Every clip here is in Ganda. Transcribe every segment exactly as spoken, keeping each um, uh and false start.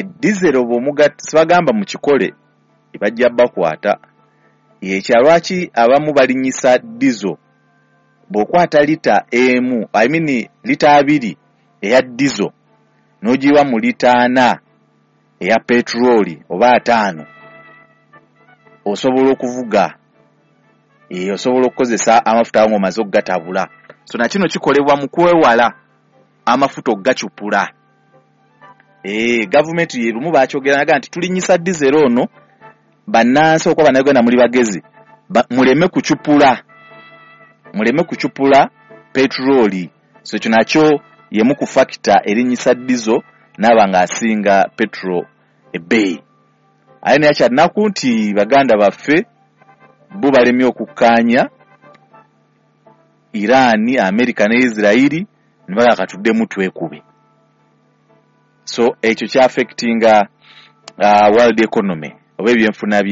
Diesel bw'omugatta, sibagamba mukikole, bajja bakwata. Ekya lwaki abamu balinnyisa diesel? Bw'okwata lita emu, I mean lita abiri eya diesel, n'ogiwa mu lita ana eya petroli oba ataano, osobola okuvuga, e, osobola okukozesa amafuta ago ng'omaze okugatabula. So nakino kikolebwa mu kwewala amafuta okugacupula. E, gavumenti ye lumu bakyogera naga nti tulinnyisa diesel ono, bannansi okuba Bannayuganda muli bagezi, ba, muleme kucupula muleme kucupula petroli. So ekyo nakyo yemu ku factor erinnyisa diesel n'aba ng'asinga petrol ebbeeyi. Aye naye kyannaku nti baganda baffe bo balemye okukkaanya, Iran, America ne Israeli, ne baga katuddemu twekube. So ekyo kyaffectinga uh, world economy oba ebyenfuna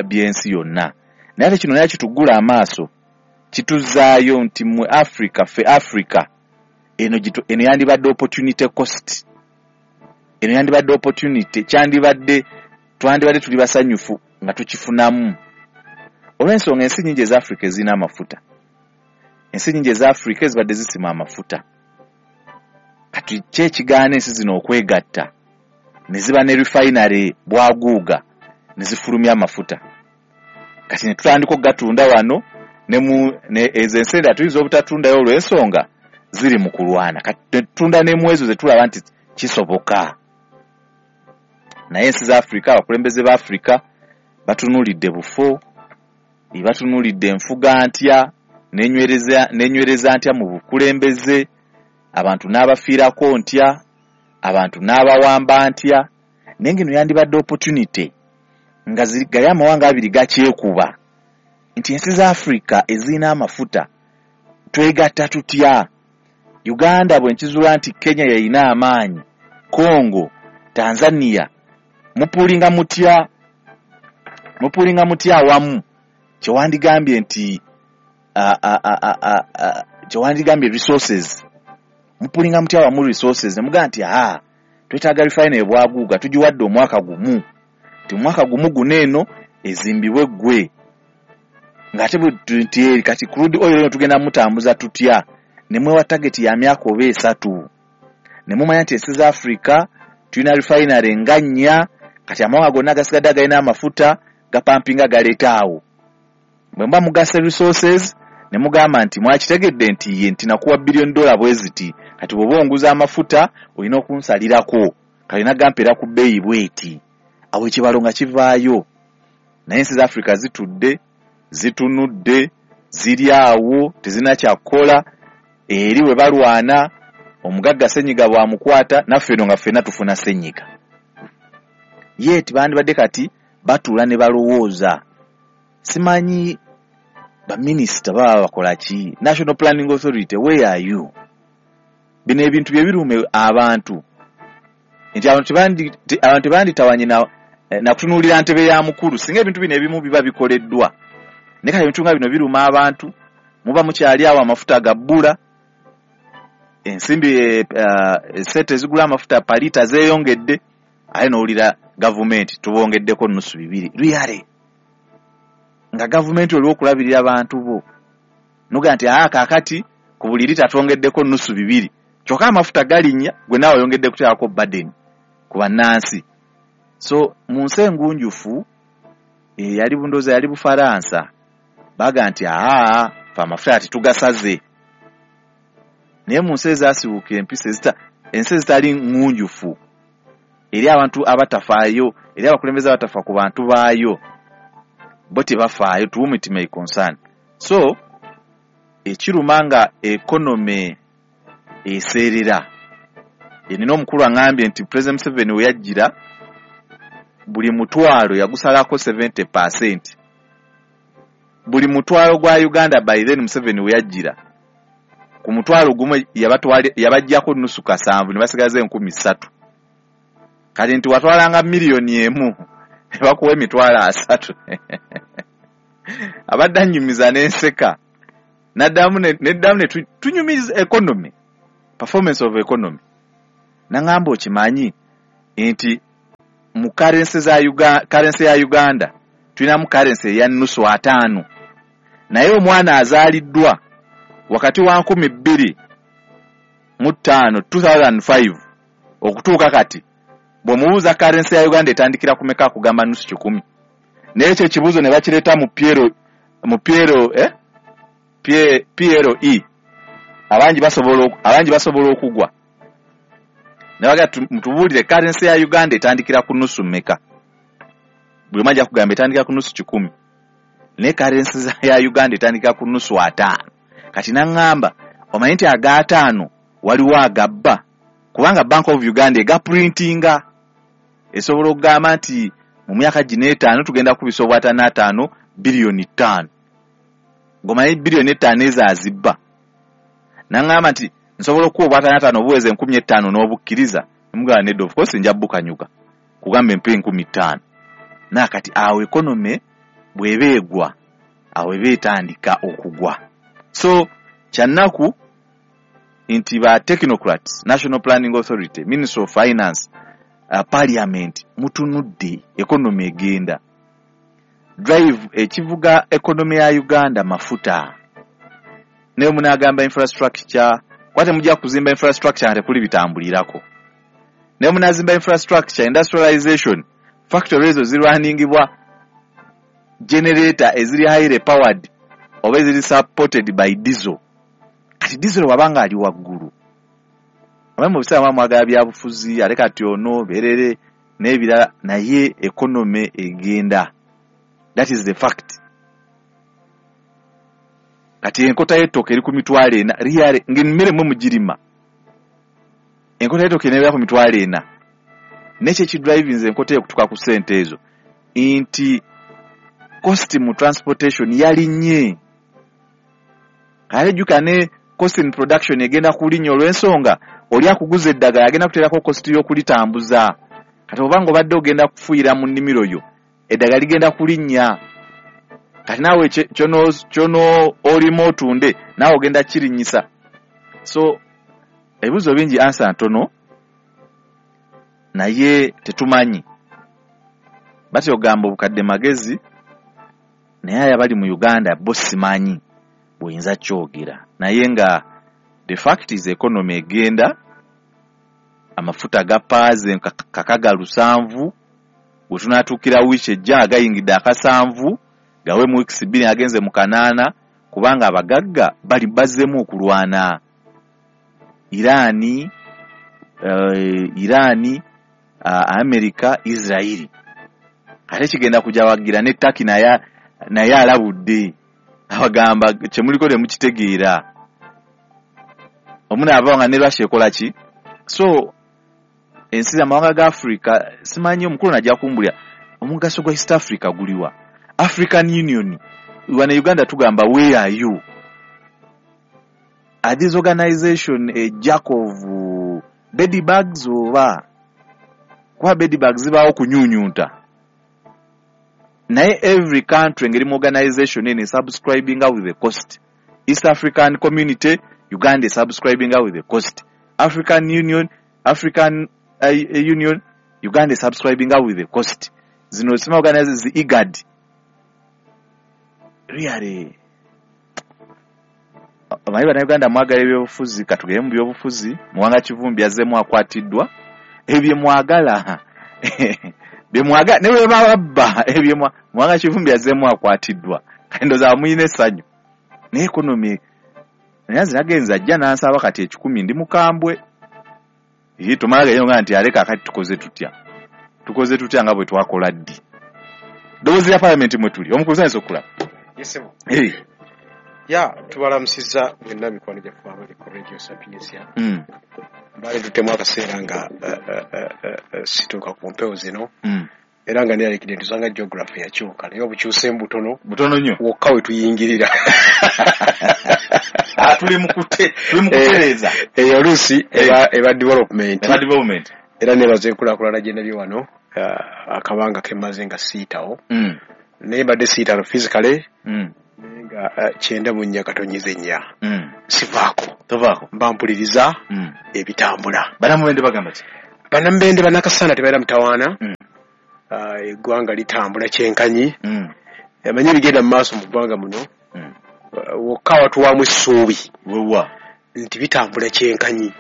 by'ensi yonna. Naye ate kino naye kituggula amaaso, kituzaayo nti mmwe Africa, ffe Africa eno, eno yandibadde opportunity cost, eno yandibadde opportunity, kyandibadde twandibadde tuli basanyufu nga tukifunamu, olw'ensonga ensi nyingi eza Africa ezirina amafuta, ensi nyingi eza Africa ezibadde zisima amafuta. Kati ki ekigaana ensi zino okwegatta ne ziba ne refinery bwaguuga ne zifulumya amafuta? Kati ne tutandika okugatunda wano ne mu ezo ensi endala tuyinza obutatundayo olw'ensonga ziri mu kulwana. Kati ne tutunda ne mu ezo ze tulaba nti kisoboka. Naye ensi za Africa, abakulembeze ba Africa batunuulidde bufo, batunuulidde enfuga ntya, nenywereza nenywereza ntya mu bukulembeze, abantu n'abafiirako ntya, abantu n'abawamba ntya. Naye ng'eno yandibadde opportunity nga gali amawanga abiri gakyekuba nti ensi za Africa ezirina amafuta twegatta tutya? Uganda bwe nkizuula nti Kenya yayina amaanyi, Congo, Tanzania, mupulinga mutya mupulinga mutya awamu? Kyewandigambye nti kyewandigambye resources, mupulinga mutya awamu resources ne mugamba nti aa twetaaga refinery bwaguuga, tugiwadde omwaka gumu, nti omwaka gumu guno eno ezimbibwe ggwe, ng'ate nti kati crude oil eno tugenda mutambuza tutya? Ne mwewa target ya myaka oba esatu, ne mumanya nti ensi za Africa tulina refinery nga nnya, kati amawanga gonna agasigadde agalina amafuta gapampinga galeeta awo. Bwe muba mugasa resources ne mugamba nti mwakitegedde nti ye nti nakuwa billion dollar bwe ziti, kati bw'oba onguza amafuta olina okunsalirako, kalina gampeera ku bbeeyi bweti, awo ekibalo nga kivaayo. Naye ensi za Africa zitudde, zitunudde, ziri awo tezirina kyakukola. Eri bwe balwana omugagga senyiga bw'amukwata, naffe eno nga ffenna tufuna senyiga. Ye tibandibadde kati batuula ne balowooza. Simanyi baminisita baba bakola ki? National Planning Authority, where are you? Bino ebintu bye birume abantu nti abantu tebanditawanye na kutunuulira ntebe ya mukulu singa ebintu bino ebimu biba bikoleddwa. Naye kati ebintu nga bino biruma abantu, muba mukyali awo amafuta gabbula, ensimbi sente ezigula amafuta palita zeeyongedde, ate n'owulira gavumenti tubongeddeko nusu bibiri. Really? Nga gavumenti oliwo okulabirira abantu bo, noga nti aa kaakati ku buli lita twongeddeko nusu bibiri, kyokka amafuta galinnya, gwe naawe oyongedde kuteekako burden ku bannansi. So mu nsi engunjufu eyali bundooza yali Bufaransa, baga nti aa fe amafuta tetugasaze. Naye mu nsi ezaasibuuka empisa, ensi ezitali ngunjufu, eri abantu abatafaayo, eri abakulembeze abatafa ku bantu baayo, bo tebafaayo, to whom it may concern. So ekiruma nga economy eseerera. Nina omukulu aŋŋambye nti President Museveni we yajjira buli mutwalo yagusalako seventy percent. Buli mutwalo gwa Uganda by then Museveni we yajjira ku mutwalo gumu yabaggyako nusu kasanvu ne basigaza enkumi ssatu. Kati nti watwalanga miliyoni emu ne bakuwa emitwalo asatu. Abadde annyumiza n'enseka, n'addamu neddamu ne tunyumiza economy, performance of economy. N'aŋŋamba okimanyi nti mu currency za Uganda, currency ya Uganda tulinamu currency eya nusu ataano, naye omwana azaaliddwa wakati wa nkumi bbiri mu ttaano two thousand five okutuuka kati bw'omubuuza currency ya Uganda etandikira ku meka akugamba nusu kikumi. Naye ekyo ekibuuzo ne bakireeta mu P L, mu P L, eh? P L E, abangi basobola abangi basobola okugwa ne baga mutubuulire currency ya Uganda etandikira ku nusu mmeka. Buli omu ajja kugamba etandikira ku nusu kikumi, naye currency ya Uganda etandikira ku nusu ataano. Kati naŋŋamba omanyi nti ag'ataano waliwo agabba, kubanga Bank of Uganda egaprintinga, esobola okugamba nti mu myaka gino etaano tugenda kubisa obwataano ataano biliyoni ttaano, ng'omanyi biliyoni etaano ezo azibba. Naŋŋamba nti nsobola okuwa obwataano ataano obuweza enkumi etaano n'obukkiriza. Nemugamba nedda, of course nja bukanyuka kugamba empa enkumi ttaano. Naye kati awo economy bw'eba egwa, awo eba etandika okugwa. So kyannaku nti ba technocrats, National Planning Authority, Ministry of Finance, uh, Parliament, mutunudde economy egenda. Drive ekivuga economy ya Uganda mafuta. Naye munaagamba infrastructure, kwate mujja kuzimba infrastructure nga tekuli bitambulirako. Naye munaazimba infrastructure, industrialization, factory ezo zirwaningibwa generator eziri highly powered oba eziri supported by diesel. Kati diesel wabanga ali waggulu, abamu mu biseera mwagala byabufuzi, ate kati ono berere n'ebirala, naye economy egenda. That is the fact. Kati enkota y'ettooke eri ku mitwalo ena really, ng'emmere mwe mugirima, enkota y'ettooke nebeera ku mitwalo ena. Nekyo ekidrivinze enkota eyo okutuuka ku ssente ezo nti cost mu transportation yalinnye. Kale jjuka ne cost in production egenda kulinnya olw'ensonga oli akuguza eddagala agenda kuteerako cost y'okulitambuza. Kati obanga obadde ogenda kufuuyira mu nnimiro yo, eddagala ligenda kulinnya. Kati naawe kyono kyono olima otunde naawe ogenda kirinnyisa. So ebibuuzo bingi, answer ntono, naye tetumanyi. Batya ogamba obukadde magezi, naye aye abali mu Uganda bo simanyi bw'oyinza kyogera. Naye nga the fact is economy egenda, amafuta gapaaze kakaga lusanvu, bwe tunaatuukira wiiki ejja nga gayingidde akasanvu, gawe mu wiikisi bbiri agenze mu kanaana, kubanga abagagga bali bazzeemu okulwana. Irani, uh, Irani, uh, America, Israeli. Ate kigenda kujawagira ne Turkey naye naye alabudde abagamba kyemuliko temukitegeera. Omunaava nga ne Russia ekola ki? So ensi amawanga ga Africa simanyi, omukulu najja kumbulya omugaso gwa East Africa guliwa. African Union wane Uganda tugamba where are you? Are this organization a jack of uh, bed bugs oba kuba bed bugs zibaawo kunyunyunta? Naye every country ngeri mu organization eno subscribing with the cost. East African Community, Uganda is subscribing with the cost. African Union, African uh, Union, Uganda is subscribing with the cost. Zino sima organizations zi IGAD. Really abayi bannayuganda mwagala ebyobufuzi, katugere mu byobufuzi. Muwanga Kivumbi azzeemu akwatiddwa. Ebyo mwagala bye mwagala ne bwe babba ebyo. Muwanga Kivumbi azzeemu akwatiddwa, kati ndowooza muyina essanyu. Naye economy, naye nze nagenze ajja n'ansaba kati ekikumi, ndi mukambwe. Tumala gayo nti aleka kati tukoze tutya, tukoze tutya nga bwe twakola ddi. Ddoboozi lya Paalamenti mwe tuli, omukulu sayinza okulaba. Yesebo. Ya tubalamusizza mwenna mikwano gyaffe abali ku Radio Sapientia. Mm. Mbale tutemu akaseera nga uh, uh, uh, situuka ku mpewo zino. Mm. Era nga neyalekidde nti osanga geography yakyuka, naye obukyuseemu butono. Butono nnyo. Wokka we tuyingirira. Tuli mu kutereeza. Eyo oluusi eba, eba development. Eba development. Era nebaza enkulaakulana gye ndabye wano akabanga ke mmaze nga siitawo. Mm. Naye mbadde siitano physically. Mm. Naye nga kyenda mu nnya katonnyeze nnya. Mm. Sivaako. Tovaako. Mba mpuliriza mm. ebitambula. Bannamubende bagamba ki? Bannamubende bannakasana tebalina mutawaana. Mm. Eggwanga litambula kyenkanyi. Mm. Amanyi ebigenda mu maaso mu ggwanga muno. Mm. Wokka watuwaamu essuubi. Wewa nti bitambula kyenkanyi.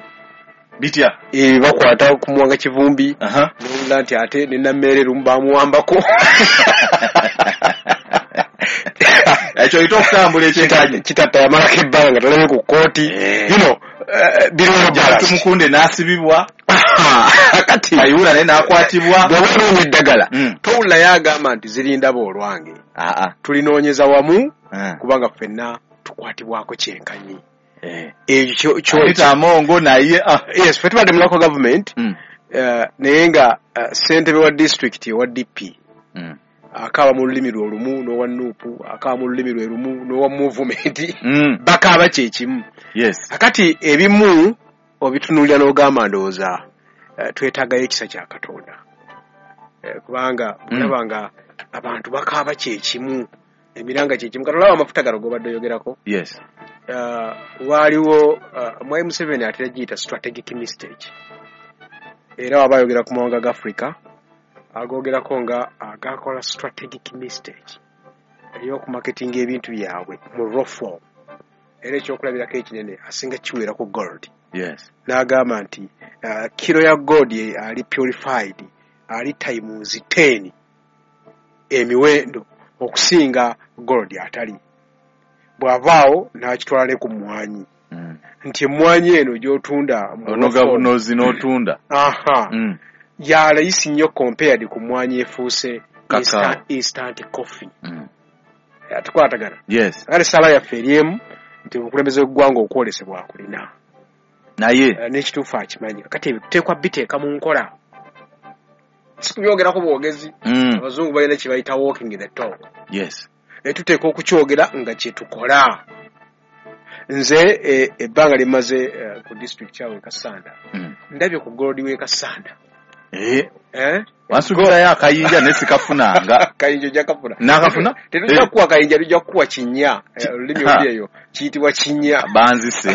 Bitya? E, bakwata ku Muwanga Kivumbi. Aha. Nowulira nti ate ne Nammeere lumu bamuwambako. Ekyo oyita okutambula ekyenkanyi. Kitatta yamalako ebbanga nga talabye ku kkooti. Eh. You know, uh, biriwo balance. Tumukunde n'asibibwa. Kati Kayihura naye n'akwatibwa. Bw'oba onoonya eddagala, Mm. towulirayo agamba nti zirindaba olwange. Aa. Tulinoonyeza wamu Ah. kubanga ffenna tukwatibwako kyenkanyi. Eh. Ekyo kyo Anita Amongo naye ah. Yes, ffe tubadde mu local government, Mm. eh, naye nga eh, ssentebe wa district owa D P Mm. akaaba mu lulimi lwe olumu n'owa N U P, akaaba mu lulimi lwe lumu n'owa movement, Mm. bakaaba kye kimu. Yes. Akati ebimu obitunuulira n'ogamba ndowooza eh, twetaagayo ekisa kya Katonda, Eh, kubanga Mm. olaba nga abantu bakaaba kye kimu, emiranga kye kimu. Kati olaba amafuta gano g'obadde oyogerako, Yes. uh, waaliwo uh, Mwai Museveni atera giyita strategic mistake, era waba ayogera ku mawanga ga Africa agogerako nga agakola strategic mistake ey'okumaketinga ebintu byabwe mu raw form. Era ekyokulabirako ekinene asinga kiweera ku gold. Yes. N'agamba nti uh, kiro ya gold ye ali purified ali times ten emiwendo okusinga gold atali. Bw'avaawo n'akitwala ne ku mmwanyi, Mm. nti emmwanyi eno gy'otunda mu raw Onoga form, bunozi n'otunda. Aha, Mm. ya layisi nnyo compared ku mmwanyi efuuse Kakao. instant, instant coffee. Mm. Tukwatagana? Yes. Kale ssaala yaffe eri emu nti obukulembeze bw'eggwanga okwolesebwa akulina Naye Eh, n'ekituufu akimanyi. Kati ebyo tuteekwa biteeka mu nkola, si kubyogerako bwogezi. Mm. Abazungu balina kye bayita walking the talk. Yes. Naye tuteekwa okukyogera nga kye tukola. Nze eh, ebbanga lyemmaze eh, ku district kyawe e Kassanda, Mm. ndabye ku gold w'e Kassanda. Eh, Eh? wansuubirayo akayinja naye sikafunanga. Kayinja ojja kafuna. Naakafuna? Tetujja Eh. kukuwa kayinja, tujja kukuwa kinnya. Ki- Eh, olulimi Ha. oluli eyo kiyitibwa kinnya. Banzise.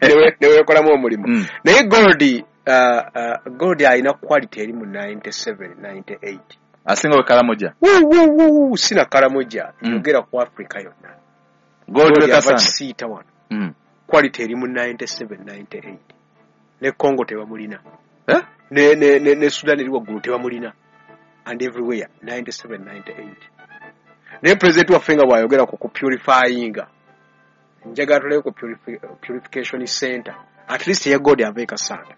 Newe- neweekolamu omulimu. Mm. Naye gold uh, uh, gold alina quality eri mu ninety-seven ninety-eight. Asinga we Karamoja. Wuu, wuu, wuu, sina Karamoja, Mm. yogera ku Africa yonna. Gold we Gold ava Kassanda. Kisiita wano, Mm. quality eri mu ninety-seven ninety-eight. Ne Congo tebamulina. Eh? ne, ne, ne, ne Sudan eri waggulu tebamulina, and everywhere ninety-seven ninety-eight. Naye president waffe nga bw'ayogera ku kupurifyinga, njagala tulabe ku purifi- purification center at least eya gold ava e Kassanda,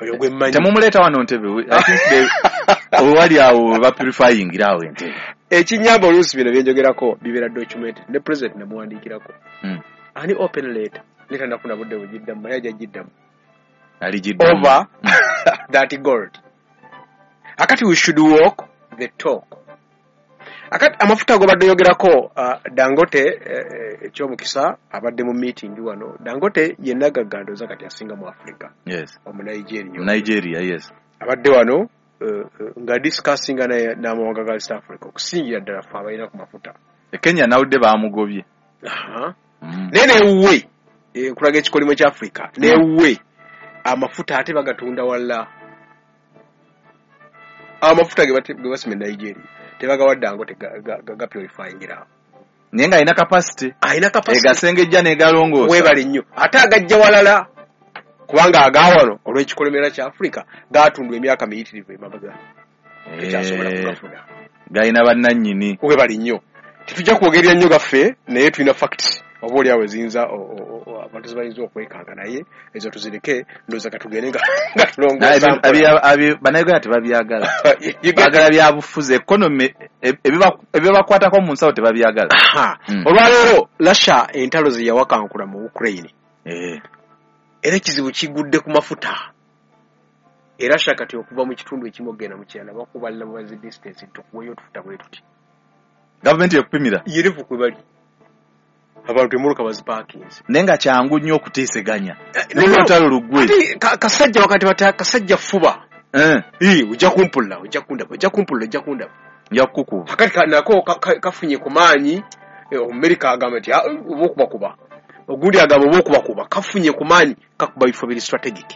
oyo gwe mmanyi. Temumuleeta wano Ntebe. We- I think they wali awo bapurifyingira awo Entebbe. Ekinyamba oluusi bino byenjogerako bibeera documented, ne president namuwandiikirako Mm. ani open letter, naye tanafuna budde bugiddamu, naye ajja giddamu Aligiddamu. over that gold. Akati we should walk the talk. Akati amafuta gobadde oyogerako, uh, Dangote, eh, ekyomukisa abadde mu meeting wano. Dangote yenna gaggandoza kati asinga mu Africa, Yes. omu Nigeria. Nigeria, yes. Abadde wano uh, uh, nga discussinga naye n'amawanga ga East Africa, okusingira ddala ffe abalina ku mafuta. E Kenya nawudde bamugobye. Aha. Mm. Naye newuwe, eh, nkulaga ekikolimo kya Africa, newuwe amafuta ate bagatunda walla. Amafuta ge bate- ge basima e Nigeria tebagawa Dangote gapurifyingira. Naye ng'alina capacity. Alina capacity. Egasengejja n'egalongoosa. Weebale nnyo. Ate agajja walala, kubanga agawano olw'ekikolemera kya Africa gatundwa emyaka miyitirivu emabega, tekyasobola Eh, kugafuna. Galina bannannyini. Weebale nnyo. Tetujja kwogerera nnyo gaffe, naye tulina facts oba oliawo eziyinza o- o- o- abantu zebayinza okwekanga, naye ezo tuzireke. Ndowooza katugende nga nga Naye tulongoosa abi- mpola. abi- abi- Bannayuganda tebabyagala. You get- Baagala byabufuzi, economy, e- ebiba- ebibakwatako mu nsawo tebabyagala. Aha. Mm. Olwaleero Russia entalo ze yawakankula mu Ukraine, Eh. era ekizibu kigudde ku mafuta. Era Russia kati okuva mu kitundu ekimu okugenda mu kirala bakubalira bubazi distance, tukuweyo otufuta bwe tuti. Gavumenti ekupimira. Yerevu kwe bali abantu emmotoka bazipaakinze. Naye nga kyangu nnyo okuteeseganya. Eh, Naye olutalo luggwe. Ate ka- kasajja wakati bata kasajja fuba. Eh, Ii, ojja kumpulira, ojja kundaba, ojja kumpulira, ojja kundaba. Nja kukukuba. Akati ka- nako ka- ka- kafunye ku maanyi. eh, omumerika agamba nti, "Ah, oba okubakuba," ogundi agamba oba okubakuba. Kafunye ku maanyi, kakuba bifo biri strategic.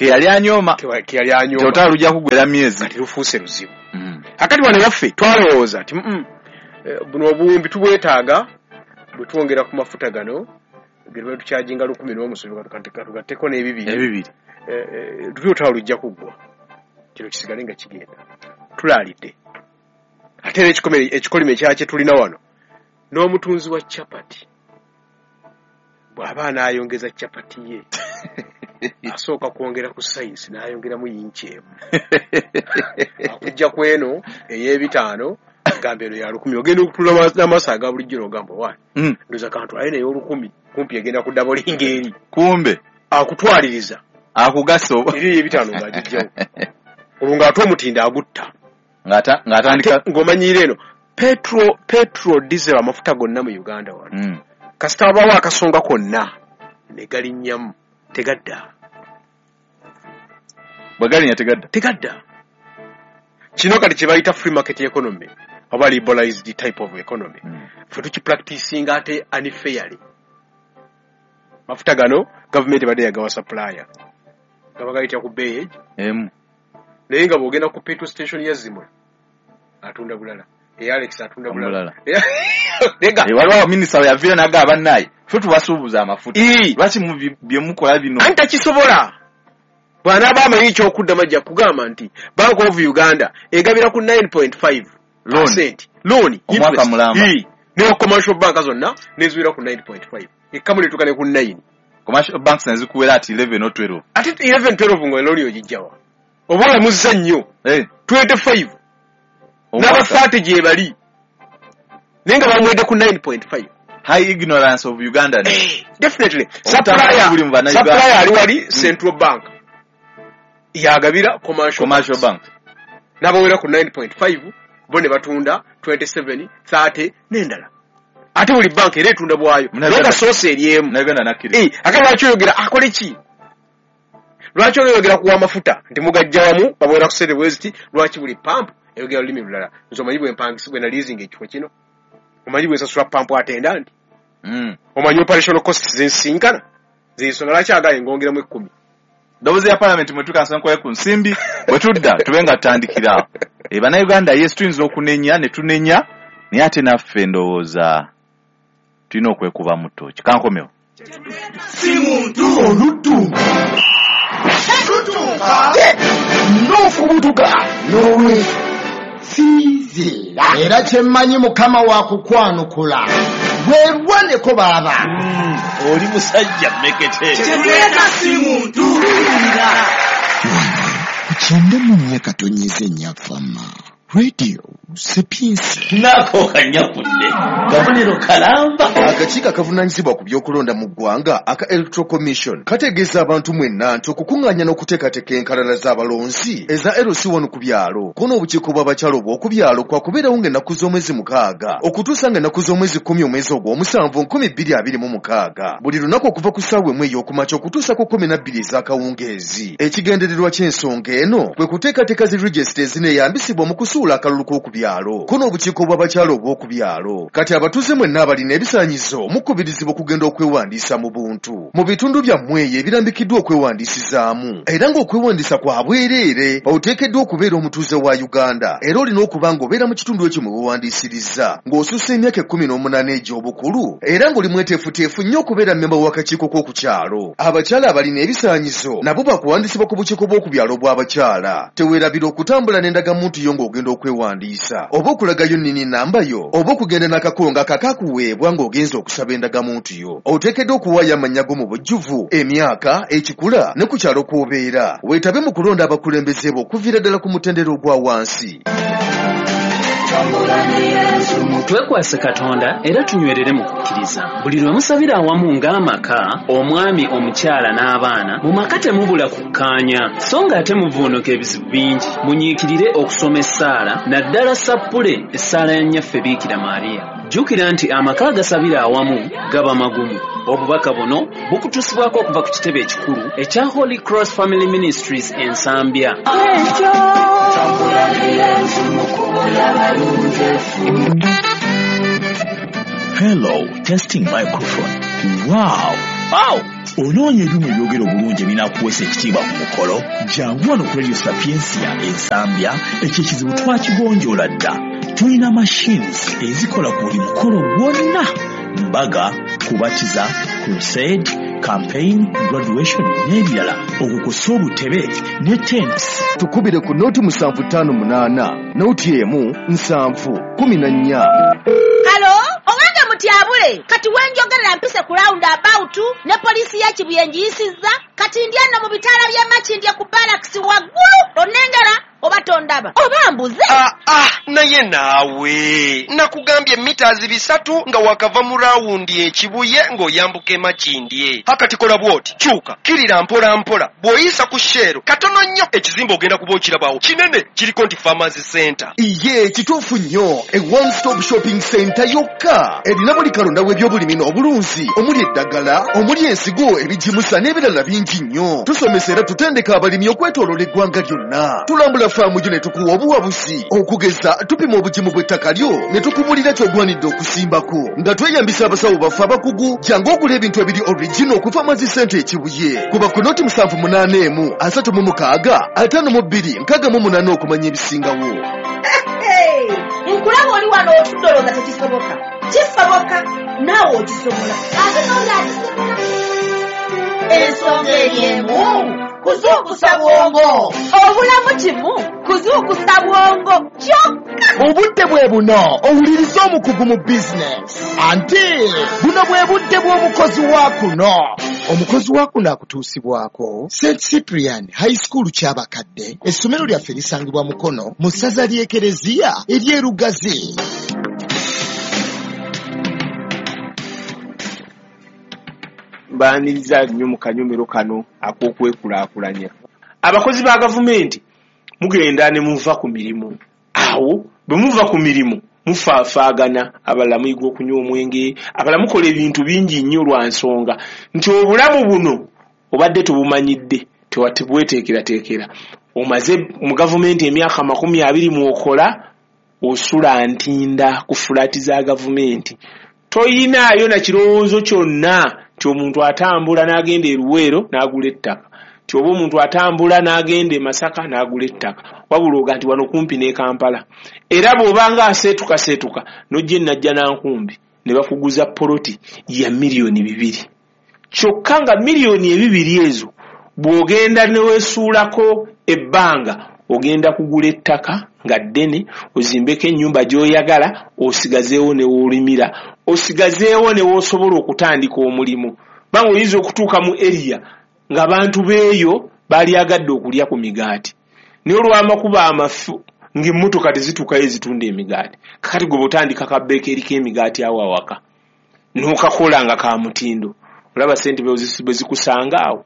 Ke yali anyooma. Ke yali anyooma. Olutalo lujja kuggwera myezi. Kati lufuuse luzibu. Mm. Akati wano yaffe twalowooza nti mm, buno obuwumbi tubwetaaga bwe twongera ku mafuta gano ge tuba tukyajinga lukumi n'omusobi tugatteko n'ebibiri. Ebibiri. Luli olutalo lujja kuggwa. Kino kisigale nga kigenda. Tulaalidde. Ate era ekikolimo ekirala kye tulina wano n'omutunzi wa chapati bw'aba anaayongeza chapati ye asooka kwongera ku sayisi n'ayongeramu yinki emu akujja ku eno ey'ebitaano gamba eno ya lukumi ogenda okutula n'amaaso aga bulijjo n'ogamba wa ndoza kantu aye naye olukumi kumpi egenda ku dabolinga eri kumbe akutwaliriza akugasa eri ey'ebitaano ng'agijjawo olwo ng'ate omutindo agutta ng'atandika ng'omanyiira eno petro petro diesel amafuta gonna mu Uganda wano mm. Kasita wabawo akasonga konna ne galinnyamu tegadda. Bwe galinnya tegadda? Tegadda. Kino kati kye bayita free market economy oba liberalized type of economy. Mm. Ffe tukipracticinga ate unfairly. Mafuta gano gavumenti ebadde yagawa supplier gaba gayita ku bbeeyi emu naye nga bw'ogenda ku petrol station ya Zimwe atunda bulala. Alex atunda bulala. Waliwo minisita yaviira n'agamba bannaye ffe tubasuubuza amafuta lwaki bye mukola bino anti takisobola bw'anaaba amanyi ekyokuddamu ajja kugamba nti Bank of Uganda egabira ku nine point five percent loan omwaka mulamba ne commercial bank zonna neziwera ku nine point five ekkamu netuuka ne ku nine. Commercial banks nezikuwera ati eleven or twelve ate eleven twelve nga loan ogijjawa oba olamuzza nnyo twenty-five n'abafaate gye bali naye nga bamuwedde ku nine point five. High ignorance of Uganda. Eh, definitely. Supplier supplier ali wali Central Bank yagabira commercial commercial bank n'abawera ku nine point five bo ne batunda twenty-seven thirty n'endala ate buli bank era etunda bwayo naye nga source eri emu nakkiriza. Ate lwaki oyogera akole ki? Lwaki oyogera kuwa amafuta nti mugajja wamu babwera ku sente bweziti lwaki buli pump eyogera olulimi lulala? Nze omanyi bwe mpangisa bwe naliizinga ekifo kino omanyi bwe nsasula pump attendant mm. omanyi operational costs zensinkana zensonga lwaki agaye ngongeramu ekkumi. Ndowooza ya parliament mwe tukansa nkoye ku nsimbi bwe tudda tube nga tutandikira e bannayuganda yes tuyinza okunenya ne tunenya naye ate naffe ndowooza tulina okwekuba mu ttooki. Kankomewo si muntu oluddu lutuuka n'okubutuka n'olwe sinzira era kyemmanyi Mukama wa kukwanukula weerwaneko baaba oli musajja mmekete kyetuleeta si muntu wano ku kyenda mu nnya katonyeze nnyafama Radio Sapiensia. Nako kanyakudde kabonero kalamba. Akakiiko akavunaanyizibwa ku by'okulonda mu ggwanga aka Electoral Commission kategeeza abantu mwenna nti okukuŋŋaanya n'okuteekateeka enkalala z'abalonzi eza L C one ku byalo ko n'obukiiko bw'abakyala obw'oku byalo kwakubeerawo ng'ennaku z'omwezi mukaaga okutuusa ng'ennaku z'omwezi kkumi omwezi ogw'omusanvu nkumi bbiri abiri mu mukaaga buli lunaku okuva ku ssaawa emu ey'okumakya okutuusa ku kkumi na bbiri ez'akawungeezi. Ekigendererwa ky'ensonga eno kwe kuteekateeka zi regisita ezineeyambisibwa mu kusuula akalulu k'oku byalo ko n'obukiiko bw'abakyala obw'oku byalo. Kati abatuuze mwenna abalina ebisaanyizo mukubirizibwa okugenda okwewandiisa mu buntu mu bitundu byammwe eyo ebirambikiddwa okwewandiisizaamu era ng'okwewandiisa kwa bwereere. Oteekeddwa okubeera omutuuze wa Uganda era olina okuba ng'obeera mu kitundu ekyo mwe weewandiisiriza ng'osussa emyaka ekkumi n'omunaana egy'obukulu era ng'oli mweteefuteefu nnyo okubeera mmemba w'akakiiko k'oku kyalo. Abakyala abalina ebisaanyizo nabo bakuwandiisibwa ku bukiiko bw'oku byalo bw'abakyala. Teweerabira okutambula n'endagamuntu yo ng'ogenda okwewandiisa oba okulagayo nnini namba yo oba okugenda n'akakongo akakakuweebwa ng'ogenza okusaba endagamuntu yo. Oteekeddwa okuwaayo amannya go mu bujjuvu, emyaka, ekikula ne ku kyalo kw'obeera. Weetabe mu kulonda abakulembeze bo okuviira ddala ku mutendera ogwa wansi. Twekwase Katonda era tunywerere mu kukkiriza. Buli lwe musabira awamu ng'amaka, omwami, omukyala n'abaana, mu maka temubula kukkaanya, so ng'ate muvuunuka ebizibu bingi. Munyiikirire okusoma essaala, naddala sappule essaala ya Nnyaffe Biikira Maria. Jjukira nti amaka agasabira awamu gaba magumu. Obubaka buno bukutuusibwako okuva ku kitebe ekikulu ekya Holy Cross Family Ministries e Nsambya. Hello, testing microphone. Wow! Wow! Onoonya ebyuma ebyogera obulungi ebinaakuweesa ekitiibwa ku mukolo? Jangu wano ku Radio Sapientia Ensambya, ekyo ekizibu twakigonjoola dda. Tulina machines ezikola ku buli mukolo gwonna: mbaga, kubatiza, crusade, campaign, graduation n'ebirala, okukosa obutebe ne tents. Tukubire ku noti musanvu ttaano munaana noti emu nsanvu kumi na nnya. Halo, owange mutyabule, kati wenjogerera mpise ku round about ne poliisi ya Kibuye ngiyisizza, kati ndi ano mu bitaala by'e Makindye ku barracks waggulu, onnengera oba tondaba oba mbuze? Ah, ah, naye naawe nakugambye mitazi bisatu nga wakava mu rawundi ekibuye ng'oyambuka e Makindye. Akati kola bw'oti, kyuka kirira mpola mpola, bw'oyisa ku Shell katono nnyo ekizimbe ogenda kuba okirabawo kinene, kiriko nti Farmers Center. Iye kituufu nnyo, e one stop shopping center yokka erina buli kalonda w'ebyobulimi n'obulunzi, omuli eddagala, omuli ensigo, ebigimusa n'ebirala bingi nnyo. Tusomesa era tutendeka abalimi okwetooloola eggwanga lyonna. Tulambula faamu gyo ne tukuwa obuwabuzi, okugeza tupima obugimu bw'ettaka lyo ne tukubulira ky'ogwanidde okusimbako nga tweyambisa abasawo baffe abakugu. Jangu ogula ebintu ebiri original ku Farmers Center Ekibuye. Kuba ku noti musanvu munaana emu asatu mu mukaaga ataano mu bbiri nkaaga mu munaana okumanya ebisingawo. Nkulaba oli wano otudde olowooza tekisoboka. Kisoboka, naawe okisobola, ate n'oli akisobola. Ensonga eri emu, kuzuukusa bwongo. Obulamu kimu, kuzuukusa bwongo kyokka. Obudde bwe buno owuliriza omukugu mu bizinesi, anti buno bwe budde bw'omukozi wa kuno. Omukozi wa kuno akutuusibwako Saint Cyprian High School Kyabakadde. Essomero lyaffe lisangibwa Mukono mu ssaza ly'Ekereziya ery'e Lugazi. Mbaniriza nnyo mu kanyomero kano ak'okwekulaakulanya. Abakozi ba gavumenti mugenda ne muva ku mirimu. Awo bwe muva ku mirimu mufaafaagana, abalala muyiga okunywa omwenge, abalala mukola ebintu bingi nnyo lwa nsonga nti obulamu buno obadde tobumanyidde, tewatibweteekerateekera. Omaze mu gavumenti emyaka makumi abiri mw'okola, osula ntinda ku fulaati za gavumenti, toyinaayo na kirowoozo kyonna nti omuntu atambula n'agenda e Luweero n'agula ettaka, nti oba omuntu atambula n'agenda e Masaka n'agula ettaka, wabula oga nti wano kumpi n'e Kampala. Era bw'obanga aseetukaseetuka n'ojja e Najjanankumbi ne bakuguza poloti ya miliyoni bibiri, kyokka nga miliyoni ebibiri ezo bw'ogenda ne weesuulako ebbanga ogenda kugula ettaka nga ddene, ozimbeko ennyumba gy'oyagala, osigazeewo ne w'olimira, osigazeewo ne w'osobola okutandika omulimu. Banga oyinza okutuuka mu area ng'abantu beeyo baalyagadde okulya ku migaati, naye olw'amakubo amafu ng'emmotoka tezituukayo ezitunda emigaati. Kakati gwe bw'otandika kabeekeri k'emigaati awo awaka n'okakola nga ka mutindo, olaba ssente bwe zikusanga awo.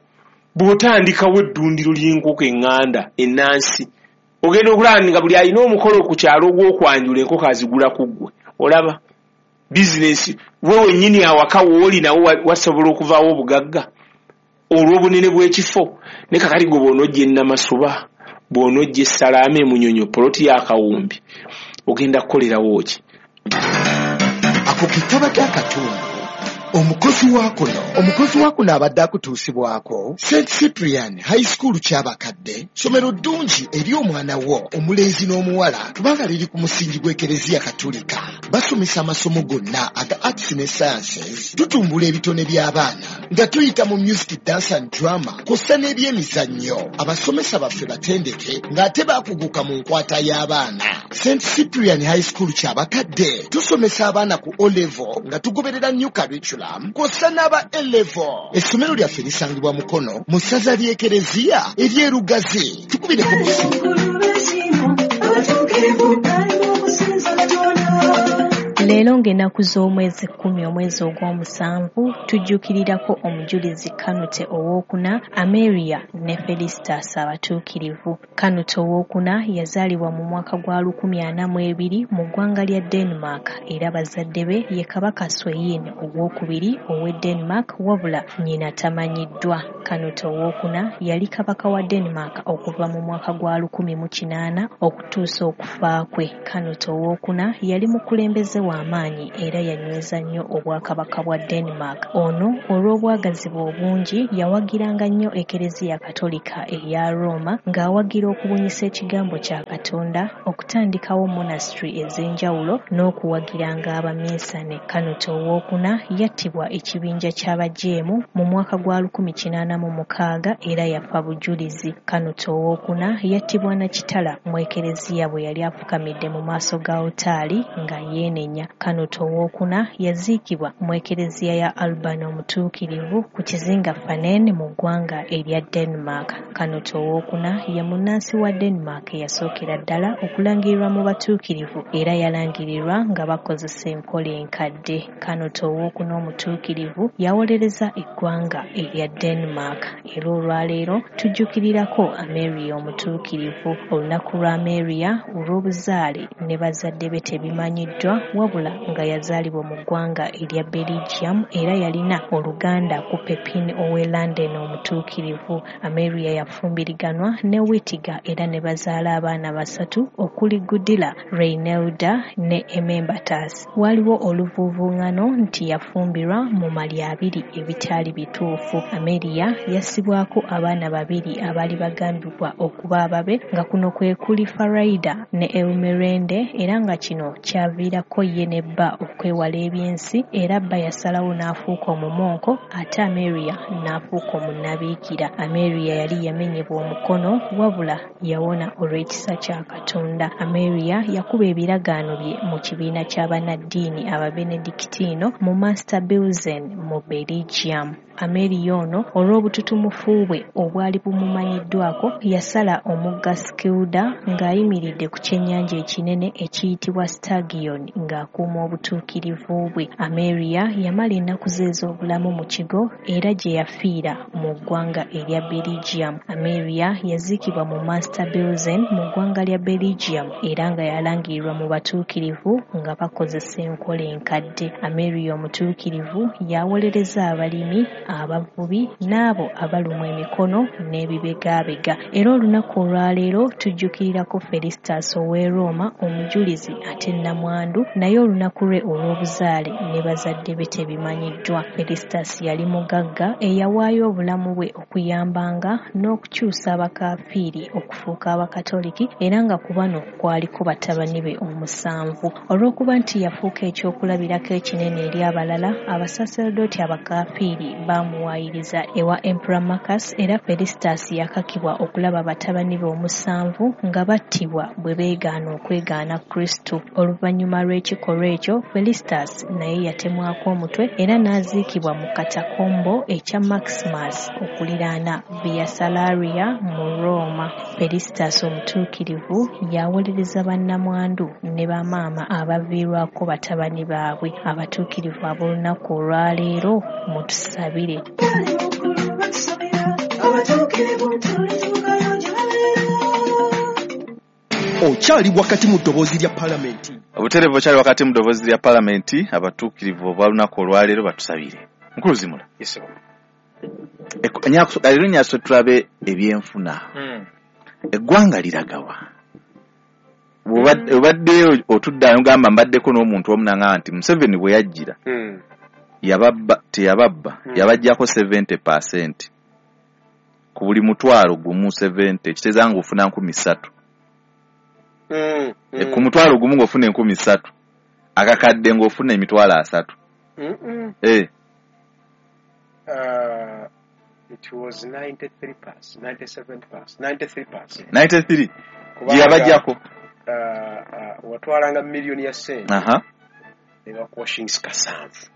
Bw'otandikawo eddundiro ly'enkoko eŋŋanda ennansi, ogenda okulaba nga buli alina omukolo ku kyalo ogw'okwanjula enkoko azigula ku ggwe. Olaba bizinesi we wennyini awaka w'oli nawo wasobola okuvaawo obugagga olw'obunene bw'ekifo. Ne kakati gwe bw'onojja e Namasuba, bw'onojja e Salaama e Munyonyo, poloti ya Kawumbi, ogenda kukolerawo ki? Ako ke kabadde akatundu. Omukozi wa kuno omukozi wa kuno abadde akutuusibwako Saint Cyprian High School Kyabakadde, ssomero ddungi eri omwana wo omulenzi n'omuwala kubanga liri ku musingi gw'Ekereziya Katulika. Basomesa amasomo gonna aga arts ne sciences, tutumbula ebitone by'abaana nga tuyita mu music, dance and drama kw'ossa n'ebyemizannyo. Abasomesa baffe batendeke ng'ate baakuguka mu nkwata y'abaana. Saint Cyprian High School Kyabakadde tusomesa abaana ku O level nga tugoberera new curriculum kw'ossa n'aba A level. Essomero lyaffe lisangibwa Mukono mu ssaza ly'Ekereziya ery'e Lugazi. Tukubireko ku ssimu. Leero ng'ennaku z'omwezi kkumi omwezi ogw'omusanvu tujjuukirirako omujulizi Kanute owookuna, Ameria ne Felistas abatuukirivu. Kanute owookuna yazaalibwa mu mwaka gwa lukumi ana mu ebiri mu ggwanga lya Denmark, era bazadde be ye Kabaka Sweyn owookubiri ow'e Denmark, wabula nnyina tamanyiddwa. Kanute owookuna yali kabaka wa Denmark okuva mu mwaka gwa lukumi mu kinaana okutuusa okufa kwe. Kanute owookuna yali mukulembeze wa amaanyi maanyi era yanyweza nnyo obwakabaka bwa Denmark. Ono olw'obwagazi bwe obungi yawagiranga nnyo Ekereziya Katolika eya Roma ng'awagira okubunyisa ekigambo kya Katonda, okutandikawo monastery ez'enjawulo n'okuwagiranga abaminsane. Canute owookuna yattibwa ekibinja ky'abajeemu mu mwaka gwa lukumi kinaana mu mukaaga era yafa bujulizi. Canute owookuna yattibwa na kitala mu Ekereziya bwe yali afukamidde mu maaso ga alutaali nga yeenenya. Canute owookuna yaziikibwa mu Ekereziya ya Alban Omutuukirivu ku kizinga Fanen mu ggwanga erya Denmark. Canute owookuna ye munnansi wa Denmark eyasookera ddala okulangirirwa mu batuukirivu era yalangirirwa nga bakozesa enkola enkadde. Canute owookuna omutuukirivu yawolereza eggwanga erya Denmark. Era olwaleero tujjukirirako Ameria omutuukirivu. Olunaku lwa Ameria olw'obuzaale ne bazadde be tebimanyiddwa, wabula nga yazaalibwa mu ggwanga erya Belgium era yalina oluganda ku Pepin ow'e Landen omutuukirivu. Ameria yafumbiriganwa ne Wittiga era ne bazaala abaana basatu okuli Gudila, Reinelda ne Emembatas. Waliwo oluvuuvuŋŋano nti yafumbirwa mu mali abiri ebitaali bituufu. Ameria yassibwako abaana babiri abaali bagambibwa okuba ababe nga kuno kwe kuli Faraida ne Elmerende, era nga kino kyaviirako ye ne bba okwewala ebyensi era bba yasalawo n'afuuka omumonko ate Ameria n'afuuka omunnabiikira. Ameria yali yamenyebwa omukono wabula yawona olw'ekisa kya Katonda. Ameria yakuba ebiragaano bye mu kibiina ky'abannaddiini Ababenedictino mu Master Bilzen mu Belgium. Ameria ono olw'obututumufu bwe obwali bumumanyiddwako yasala omugga Skilda ng'ayimiridde ku kyennyanja ekinene ekiyitibwa Stagion ng'akuuma obutuukirivu bwe. Ameria yamala ennaku ze ez'obulamu mu kigo era gye yafiira mu ggwanga erya Belgium. Ameria yaziikibwa mu Master Bilzen mu ggwanga lya Belgium era nga yalangirirwa mu batuukirivu nga bakozesa enkola enkadde. Ameria omutuukirivu yawolereza abalimi, abavubi n'abo abalumwa emikono n'ebibegaabega. Era olunaku olwaleero tujjukirirako Felistas ow'e Roma omujulizi ate nnamwandu, naye olunaku lwe olw'obuzaale ne bazadde be tebimanyiddwa. Felistas yali mugagga eyawaayo obulamu bwe okuyambanga n'okukyusa abakafiiri okufuuka abakatoliki era nga ku bano kwaliko batabani be omusanvu. Olw'okuba nti yafuuka ekyokulabirako ekinene eri abalala, abasaserdooti abakafiiri baamuwaayiriza ewa Emperor Marcus era Felistas yakakibwa okulaba batabani be omusanvu nga battibwa bwe beegaana okwegaana Kristo. Oluvannyuma lw'ekikolwa ekyo, Felistas naye yatemwako omutwe era n'aziikibwa mu katakombo ekya Maximus okuliraana Via Salaria mu Roma. Felistas omutuukirivu yawolereza bannamwandu ne bamaama abaviirwako batabani baabwe. Abatuukirivu ab'olunaku olwaleero mutusabire. Okyali wakati mu ddoboozi lya Palamenti. Obutereevu okyali wakati mu ddoboozi lya Palamenti. Abatuukirivu obw'olunaku olwaleero batusabire. Mukulu Zimula. Yes, sir. Leero nyaso tulabe ebyenfuna. Eggwanga liragawa. Obadde otuddayo ngamba mbaddeko n'omuntu omu n'aŋŋamba nti Museveni bwe yajjira yababba teyababba yabaggyako seventy percent ku buli mutwalo gumu seventy ekitegeeza ng'ofuna nkumi ssatu. Ku mutwalo gumu ng'ofuna enkumi ssatu, akakadde ng'ofuna emitwalo asatu. Eh. Uh, it was ninety-three percent, ninety-seven percent, ninety-three percent. ninety-three. Gye yabaggyako. Uh, uh, watwalanga miliyoni ya ssente. Aha. Ne bakuwa shillings kasanvu.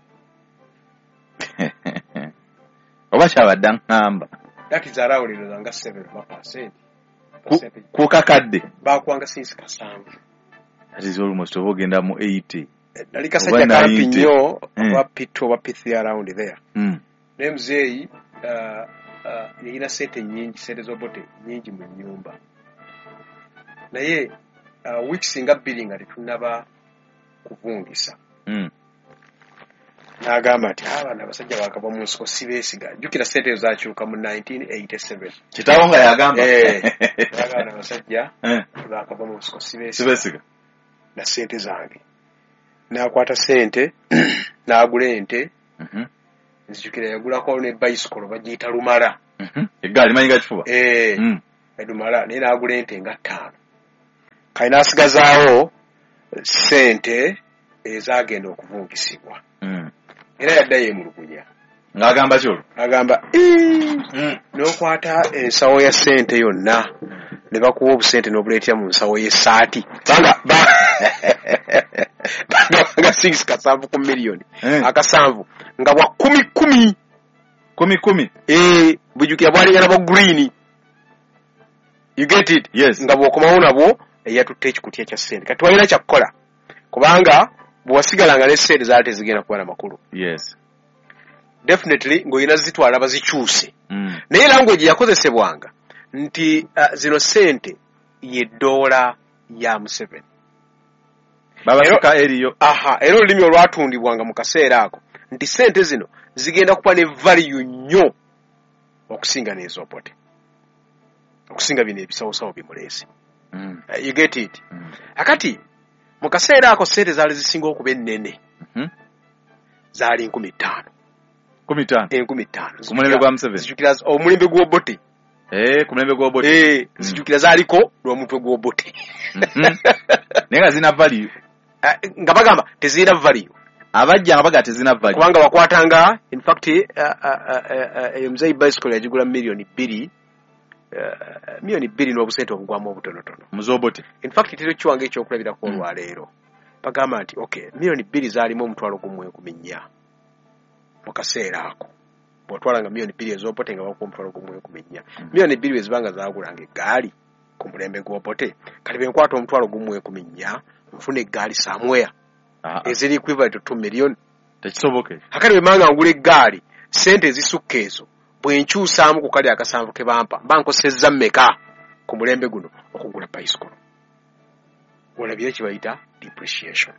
Oba kyabadde aŋŋamba. That is around nga seven percent. Ku kakadde. Bakuwanga shillings kasanvu. That is almost oba ogenda mu eighty. Nali kasajja kampi nnyo oba P two oba P three around there. Mm. Naye muzeeyi uh, uh, yalina ssente nnyingi, ssente z'obote nnyingi mu nnyumba. Naye uh, weeks nga bbiri nga tetunnaba kuvungisa. Mm. N'agamba nti abaana abasajja baakava mu nsiko sibeesiga. Jjukira ssente ezo zaakyuka mu nineteen eighty-seven. Kitaawo nga yagamba. Eh. N'agamba abasajja baakava mu nsiko sibeesiga. Sibeesiga. Na ssente zange. N'akwata sente n'agula ente. Mhm. Nzijukira yagulako ne bicycle bagiyita Lumala. Mhm. Eggaali manyi ga kifuba. Eh, Mm. Lumala, naye n'agula ente nga ttaano. Kale n'asigazaawo sente ezagenda okuvungisibwa. Mm. Era yaddayo emulugunya. Ng'agamba ki olwo? Agamba, Mm. n'okwata ensawo ya ssente yonna ne bakuwa obusente n'obuleetera mu nsawo y'essaati. Kubanga ba- bagabanga six kasanvu ku miliyoni. Eh. Akasanvu nga bwa kumi kumi. Kumi kumi. Eh, bujjukira bwalingana bwa green. You get it? Yes. Nga bw'okomawo nabwo eyatutte ekikutya kya ssente. Kati walina kyakukola kubanga bwe wasigalanga ne ssente zaali tezigenda kuba na makulu. Yes. Definitely ng'olina zitwala bazikyuse. Mm. Naye language yakozesebwanga nti uh, zino ssente ye ddoola ya Museveni. Babasika eriyo. Aha, era olulimi olwatundibwanga mu kaseera ako nti ssente zino zigenda kuba ne value nnyo okusinga n'ez'Obote, okusinga bino ebisawosawo bimuleese. Mm. Uh, you get it? Mm. Akati mu kaseera ako ssente zaali zisinga okuba ennene Mhm. zaali nkumi ttaano. Kumi ttaano. Enkumi ttaano. Ku mulembe gwa Museveni. Zijjukira omulembe gw'Obote. Eh, ku mulembe gw'Obote. Eh, zijjukira zaaliko lw'omutwe gw'Obote. Mhm. Naye nga zirina value. Eh, nga bagamba tezirina value. Abajja nga bagamba tezirina value. Kubanga wakwatanga, in fact, uh, uh, uh, uh, muzeeyi bicycle yagigula miliyoni bbiri, uh, miliyoni bbiri n'obusente obugwamu obutonotono. Mu z'Obote. In fact, tero kiwange ekyokulabirako olwaleero. Bagamba nti okay, miliyoni bbiri zaalimu omutwalo gumu enkumi nnya mu kaseera ako. Bw'otwalanga miliyoni bbiri ez'Obote nga bakuwa omutwalo gumu enkumi nnya. Miliyoni bbiri bwe zibanga zaagulanga eggaali ku mulembe gw'Obote, kati bwe nkwata omutwalo gumu enkumi nnya nfuna eggaali somewhere Ah, ah. eziri equivalent to two million. Tekisoboka. Akati bwe manga ngula eggaali ssente ezisukka ezo bwe nkyusaamu ku kali akasanvu ke bampa mba nkosezza mmeka ku mulembe guno okugula bicycle. Olabye kye bayita depreciation.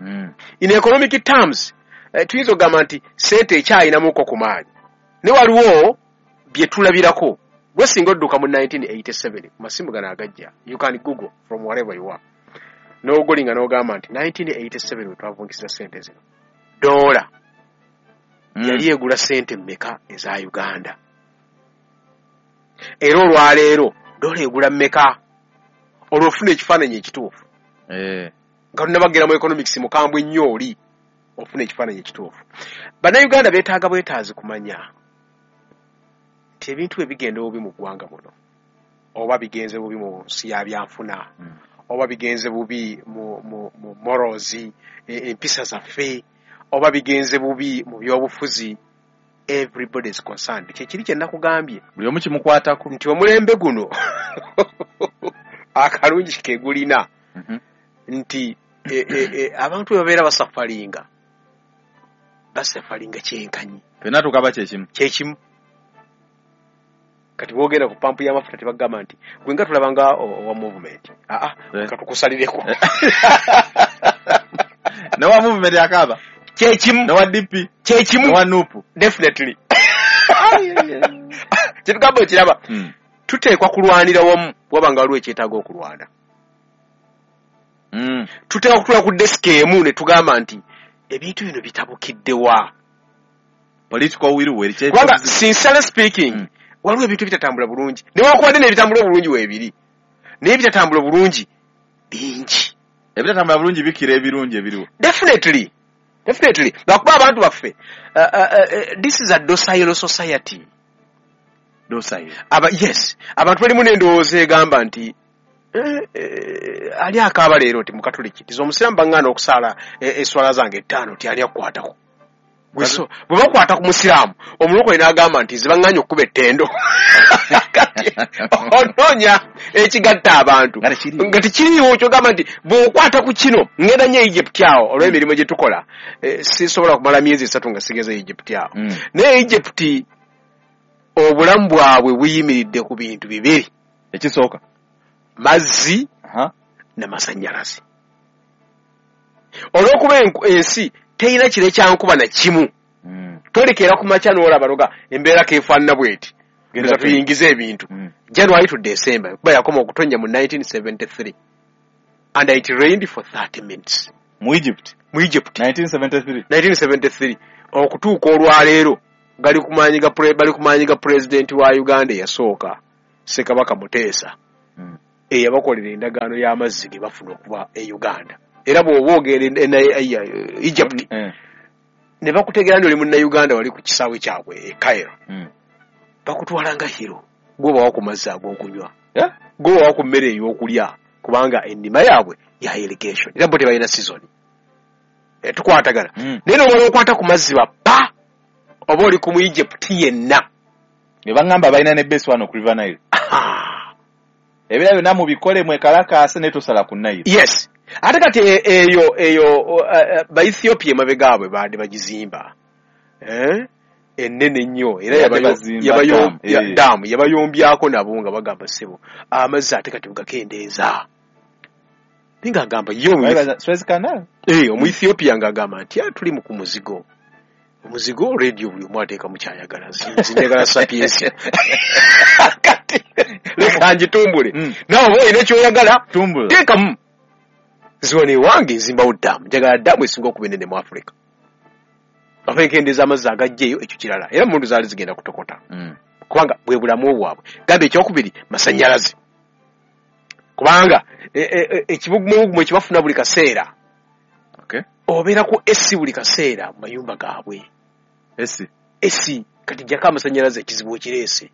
Mm. In economic terms, eh, tuyinza okugamba nti ssente ekyayinamuko ku maanyi. Ne waliwo bye tulabirako. Gwe singa odduka mu nineteen eighty-seven ku masimu gano agajja, you can google from wherever you are. N'ogolinga n'ogamba nti nineteen eighty-seven we twavungisiza ssente zino. Doola Mm. yali egula ssente mmeka eza Uganda? Era olwaleero doola egula mmeka? Olwo ofuna ekifaananyi ekituufu. Eh. Nga tunnabagera mu economics mukambwe nnyo oli ofuna ekifaananyi ekituufu. Bannayuganda beetaaga bwetaazi kumanya nti ebintu bwe bigenda obubi mu ggwanga muno, oba bigenze bubi mu nsi ya byanfuna, Mm. oba bigenze bubi mu, mu, mu morals, e- empisa zaffe, oba bigenze bubi mu byobufuzi, everybody is concerned. Kyekiri kye nakugambye Buli omu kimukwatako. Nti omulembe guno akalungi ke gulina Mhm. nti e, e, e, abantu bwe babeera basafalinga basafalinga kyenkanyi. Ffenna tukaba kyekimu. Kyekimu. Kati bwogenda ku pampu y'amafuta tebagamba nti gwe nga tulaba nga owa movement, aa, Eh. katukusalireko. Newa movement akaaba. Kyekimu. Newa D P. Kyekimu. Newa NUP. Definitely kyetugamba okiraba. Mm. Tuteekwa kulwanira wamu waba nga waliwo ekyetaaga okulwana. Mm. Tuteekwa kutula ku desiki emu ne tugamba nti ebintu bino bitabukiddewa. Political will weri kye. Kubanga sincerely speaking, Mm. waliwo ebintu ebitatambula bulungi newankubadde n'ebitambula obulungi weebiri, naye ebitatambula bulungi bingi. Ebitatambula bulungi bikira ebirungi ebiriwo. Definitely, definitely, lwakuba abantu baffe, uh, uh, uh, this is a docile society. Docile. Aba, yes, abantu balimu n'endowooza egamba nti eh, eh, ali akaaba leero nti mukatuliki tiza omusiraamu baŋŋaana okusaala eh, eswala zange ettaano ti ani akukwatako. Bwe so- bwe bakwata ku musiraamu omulokole n'agamba nti zibaŋŋaanye okukuba ettendo. Kati onoonya ekigatta abantu Nga tekiriiwo. nga tekiriiwo. Kyogamba nti bw'okwata ku kino, ŋŋenda nnyo Egypt awo olw'emirimu gye tukola, eh, sisobola kumala myezi esatu nga sigeze Egypt awo. Mm. Naye Egypt obulamu bwabwe buyimiridde ku bintu bibiri. Ekisooka. Mazzi Aha. n'amasannyalaze. Olw'okuba enku- ensi terina kire kyankuba na kimu, Mm. tolekera ku makya n'olaba noga embeera keefaanana bweti, Genda nga tuyingize ebintu. Mm. January to December, kuba yakoma okutonnya mu nineteen seventy-three and it rained for thirty minutes. Mu Egypt. Mu Egypt. nineteen seventy-three. nineteen seventy-three. Okutuuka olwaleero gali ku maanyi ga pre, bali ku maanyi ga president wa Uganda eyasooka Ssekabaka Muteesa. Mm. Eyabakolera endagaano y'amazzi ge bafuna okuva e Uganda. Era bw'oba ogenda e Egypt mm. ne bakutegeera nti oli munnauganda wali ku kisaawe kyabwe e Cairo. Mm. Bakutwala nga hero. Gwobawa ku mazzi ag'okunywa. Yeah? Gwobawa ku mmere ey'okulya kubanga ennima yaabwe ya irrigation. Era bo tebalina season. E, tukwatagana. Mm. Naye n'omala okwata ku mazzi bapa oba oli ku mu Egypt yenna. Ne bangamba balina ne base wano ku River Nile. Ebira byonna mubikole mwekalakaase ne tosala ku Nile. Yes. Ate kati eyo eyo uh, ba Ethiopia emabega abwe baadde bagizimba. Eh? Ennene nnyo era yabayo dam yabayombyako nabo nga bagamba ssebo amazzi ate kati mugakendeeza. Ninga agamba yo Suez Canal. Eh, omu Ethiopia nga agamba nti tuli mu ku muzigo. Omuzigo radio buli omu ateeka mu kyayagala. Nzinjagala Sapientia. Kati leka ngitumbule. Mm. Nawe oba olina ky'oyagala tumbula. Teekamu. Ziwano ewange nzimbawo ddamu. Njagala ddamu esinga okuba ennene mu Africa. Bava enkendeeza amazzi agajja eyo ekyo kirala. Era emmundu zaali zigenda kutokota. Mm. Kubanga bwe bulamu bwabwe. Gamba ekyokubiri masannyalaze. Kubanga ekibugumubugumu ekibafuna buli kaseera. Okay. Obeera ku A C buli kaseera mu mayumba gaabwe. A C. A C kati jjako amasannyalaze ekizibu okireese.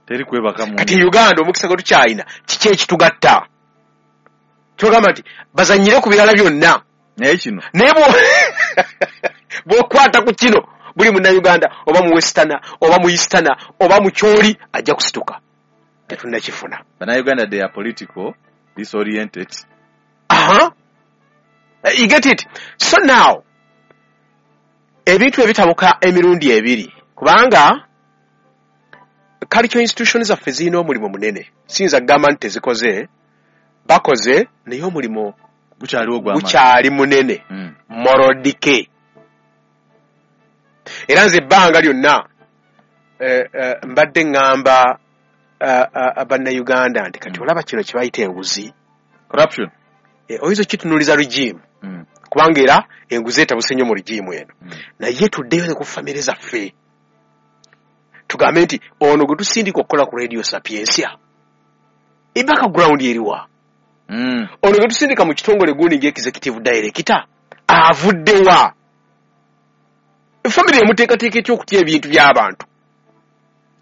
Teri kwebaka mu. Kati Uganda omukisa gwe tukyalina kiki ekitugatta? Kyogamba nti bazannyire ku birala byonna. Naye kino. Naye bw'okwata ku kino buli munnayuganda oba mu Westerner oba mu Easterner oba mu Kyoli ajja kusituka. Tetunnakifuna. Bannayuganda they are political disoriented. Aha. You get it? So now ebintu ebitabuka emirundi ebiri kubanga cultural institutions zaffe zirina omulimu munene. Siyinza kugamba nti tezikoze, bakoze naye omulimu gukyaliwo gw'amaanyi. Gukyali munene. Mm. Moral decay. Era nze ebbanga lyonna eh, eh, mbadde ŋŋamba uh, uh, bannayuganda nti kati mm. olaba kino kye bayita enguzi. Corruption. Eh, oyinza okitunuuliza regime. Mm. Kubanga era enguzi etabuse nnyo mu regime eno. Mm. Naye tuddeyo ne ku famire zaffe. Tugambe nti ono gwe tusindika okukola ku Radio Sapientia. E background eriwa. Mm. Ono gwe tusindika mu kitongole gundi ng'executive director avuddewa. Family emuteekateeka etya okutya ebintu by'abantu.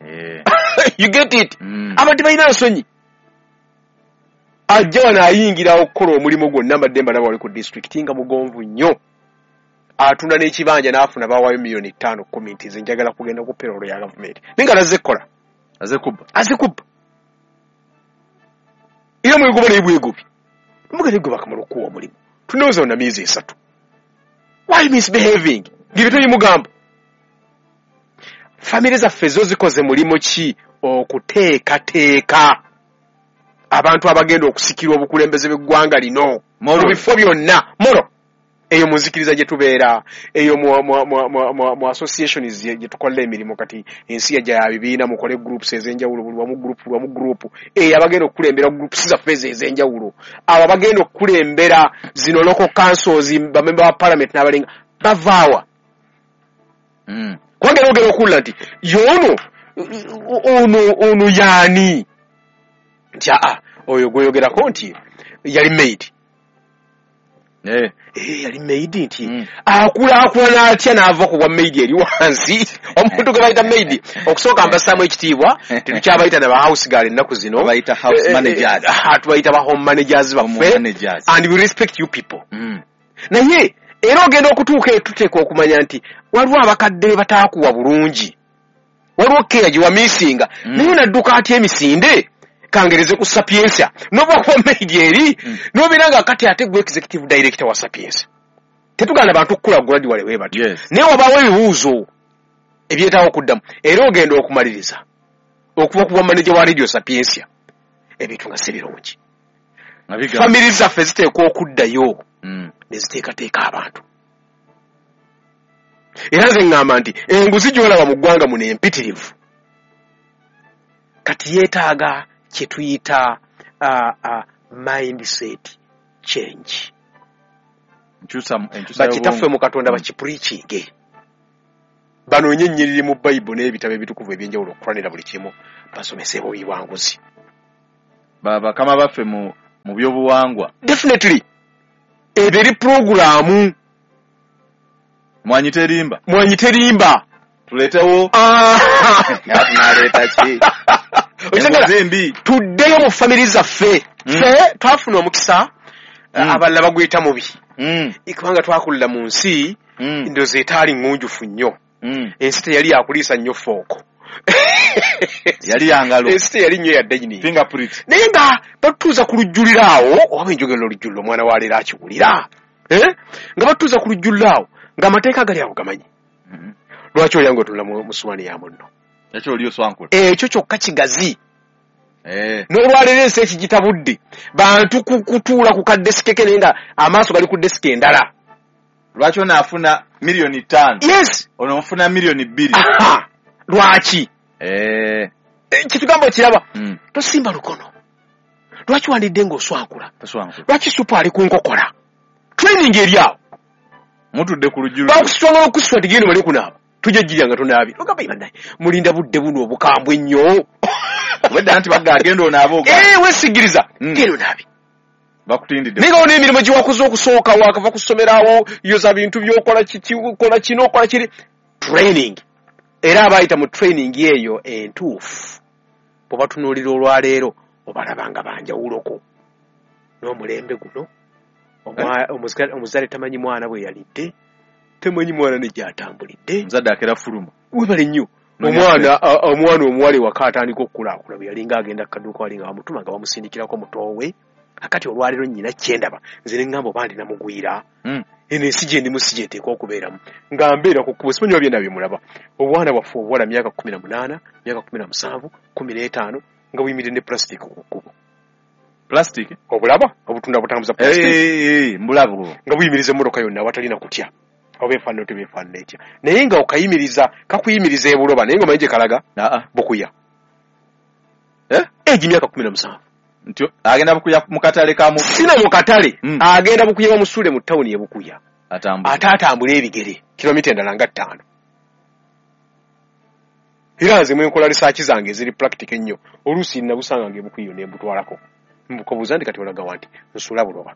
Yeah. You get it? Mm. Abantu balina nsonyi. Ajja wano ayingira okukola omulimu gwonna mbadde mbalaba wali ku district nga mugonvu nnyo. Atunda n'ekibanja n'afuna bawaayo miliyoni ttaano kkumi nti nze njagala kugenda ku payroll ya gavumenti. Naye nga azze kukola. Azze kubba. Azze kubba. Era mwegoba naye bwegobi. Mugende gwe bakamala okuwa omulimu. Tunooza wonna myezi esatu. Why misbehaving? Ng'ebyo tebimugamba. Famire zaffe zo zikoze mulimu ki okuteekateeka abantu abagenda okusikirwa obukulembeze bw'eggwanga lino mu bifo byonna moro eyo mu nzikiriza gye tubeera eyo mu, mu, mu, mu, mu, mu associations gye tukolera emirimu. Kati ensi yajja ya bibiina, mukole groups ez'enjawulo, buli wamu group, buli wamu group. Eyo abagenda okukulembera groups zaffe ezo ez'enjawulo, abo abagenda okukulembera zino local councils, bamemba ba parliament n'abalenga bavaawa. Mm. Kubanga era ogenda okuwulira nti y'ono ono ono yaani nti aa oyo gweyogerako nti yali maid. Eh. Eh, yali maid nti mm. akulaakulana atya n'ava ku bwa maid eri wansi. Omuntu gwe bayita maid okusooka mbassaamu ekitiibwa, tetukyabayita na ba house girl ennaku zino, Tubayita house managers. Eh, eh, tubayita ba home managers baffe, managers. And we respect you people. Mm. Naye era ogenda okutuuka eyo tuteekwa okumanya nti waliwo abakadde be bataakuwa bulungi, waliwo keya gye wamiisinga, Mm. naye onadduka atya emisinde kangereze ku Sapientia n'oba kuba maid eri Mm. n'obeera nga kati ate gwe executive director wa Sapientia. Tetugaana bantu kukula gradually bwe batyo. Yes. Naye wabaawo ebibuuzo ebyetaaga okuddamu era ogenda okumaliriza okuva ku bwa manager wa Radio Sapientia ebintu nga si birungi. Famiri zaffe ziteekwa okuddayo Mm. ne ziteekateeka abantu. Era nze ŋŋamba nti enguzi gy'olaba mu ggwanga muno empitirivu kati yeetaaga kye tuyita uh, uh, mindset change. Bakitaffe mu Katonda bakipreachinge, banoonye ennyiriri mu Bayibuli n'ebitabo ebitukuvu ebyenjawulo okukulanira buli kimu, basomese obuwanguzi. Bakama baffe mu mu byobuwangwa definitely eberi programu mwanyi terimba, mwanyi terimba tuletewo naleeta ki tuddeyo mu famiri zaffe. Ffe twafuna omukisa, abalala baguyita mubi, kubanga twakulira mu nsi ndowooza etaali ŋŋunjufu nnyo. Ensi teyali yakuliisa nnyo fooko, yali yangalo, ensi teyali nnyo ya dining fingerprint, naye nga batutuuza ku lujjuliro awo, oba enjogera olujjuliro omwana wa leero akiwulira, nga batutuuza ku lujjuliro awo ng'amateeka gali awo gamanyi. Lwaki olya ng'otunula mu suwaani ya munno? Ekyo oli oswankula, ekyo kyokka kigazi. N'olwaleero ensi ekigitabudde, bantu kutuula ku kadesike ke naye nga amaaso gali ku desike endala. Lwaki ono afuna miliyoni ttaano? Yes, ono nfuna miliyoni bbiri. Lwaki? Kitugamba okiraba, tosimba lukono. Lwaki wandidde ng'oswankula? Lwaki supu ali ku nkokola? Training eri awo, mutudde ku lujjuliro, bakusitwanga okusitwa nti genda omale kunaaba, tujja ggirya nga tonaabye. Ogamba bannaye mulinda budde buno obukambwe ennyo. Wedda nti bagga agenda onaaba oga. Eh, weesigiriza genda onaabe, bakutindidde. Naye nga wona emirimu gye wakoze okusooka, wakava ku ssomero awo, yoza bintu by'okola kiki, okola kino, okola kiri. Training. Era abayita mu training eyo entuufu, bw'obatunuulira olwaleero obalaba nga banjawuloko n'omulembe guno. Omuzadde tamanyi mwana bwe yalidde, tamanyi mwana ne gy'atambulidde. Omuzadde akera fuluma. Webale nnyo. Omwana omwana omuwala ewaka atandika okukulaakulana, bwe yalinga agenda ku kaduuka wali nga bamutuma nga bamusindikirako mutoowe. Akati olwaleero nnyina kyendaba nze ne ŋŋamba oba ndi namugwira, eno ensi gye ndimu si gye nteekwa okubeeramu, nga mbeera ku kkubo simanyi oba byonna bye mulaba. Obwana bwaffe obuwala myaka kkumi na munaana, myaka kkumi na musanvu, kkumi n'etaano nga buyimiridde ne pulasitika ku kkubo. Plastic obulaba obutunda butambuza plastic, eh mbulabo, nga buyimiriza emmotoka yonna awatalina kutya, oba efaanana tebeefaanana etya, naye nga okayimiriza kakuyimiriza ebuloba, naye nga omanyi gye kalaga bukuya. Egi myaka kkumi na musanvu nti agenda bukuya mu katale ka mu sina mu katale, agenda bukuya bamusuule mu tawuni e Bukuya, ate atambula ebigere kilomita endala nga ttaano. Era nze mwenkola risaaki zange eziri practical ennyo, oluusi nabusanga nga ebukuya ne mbutwalako mbukobuuza nti kati olaga wa nti nsula buloba,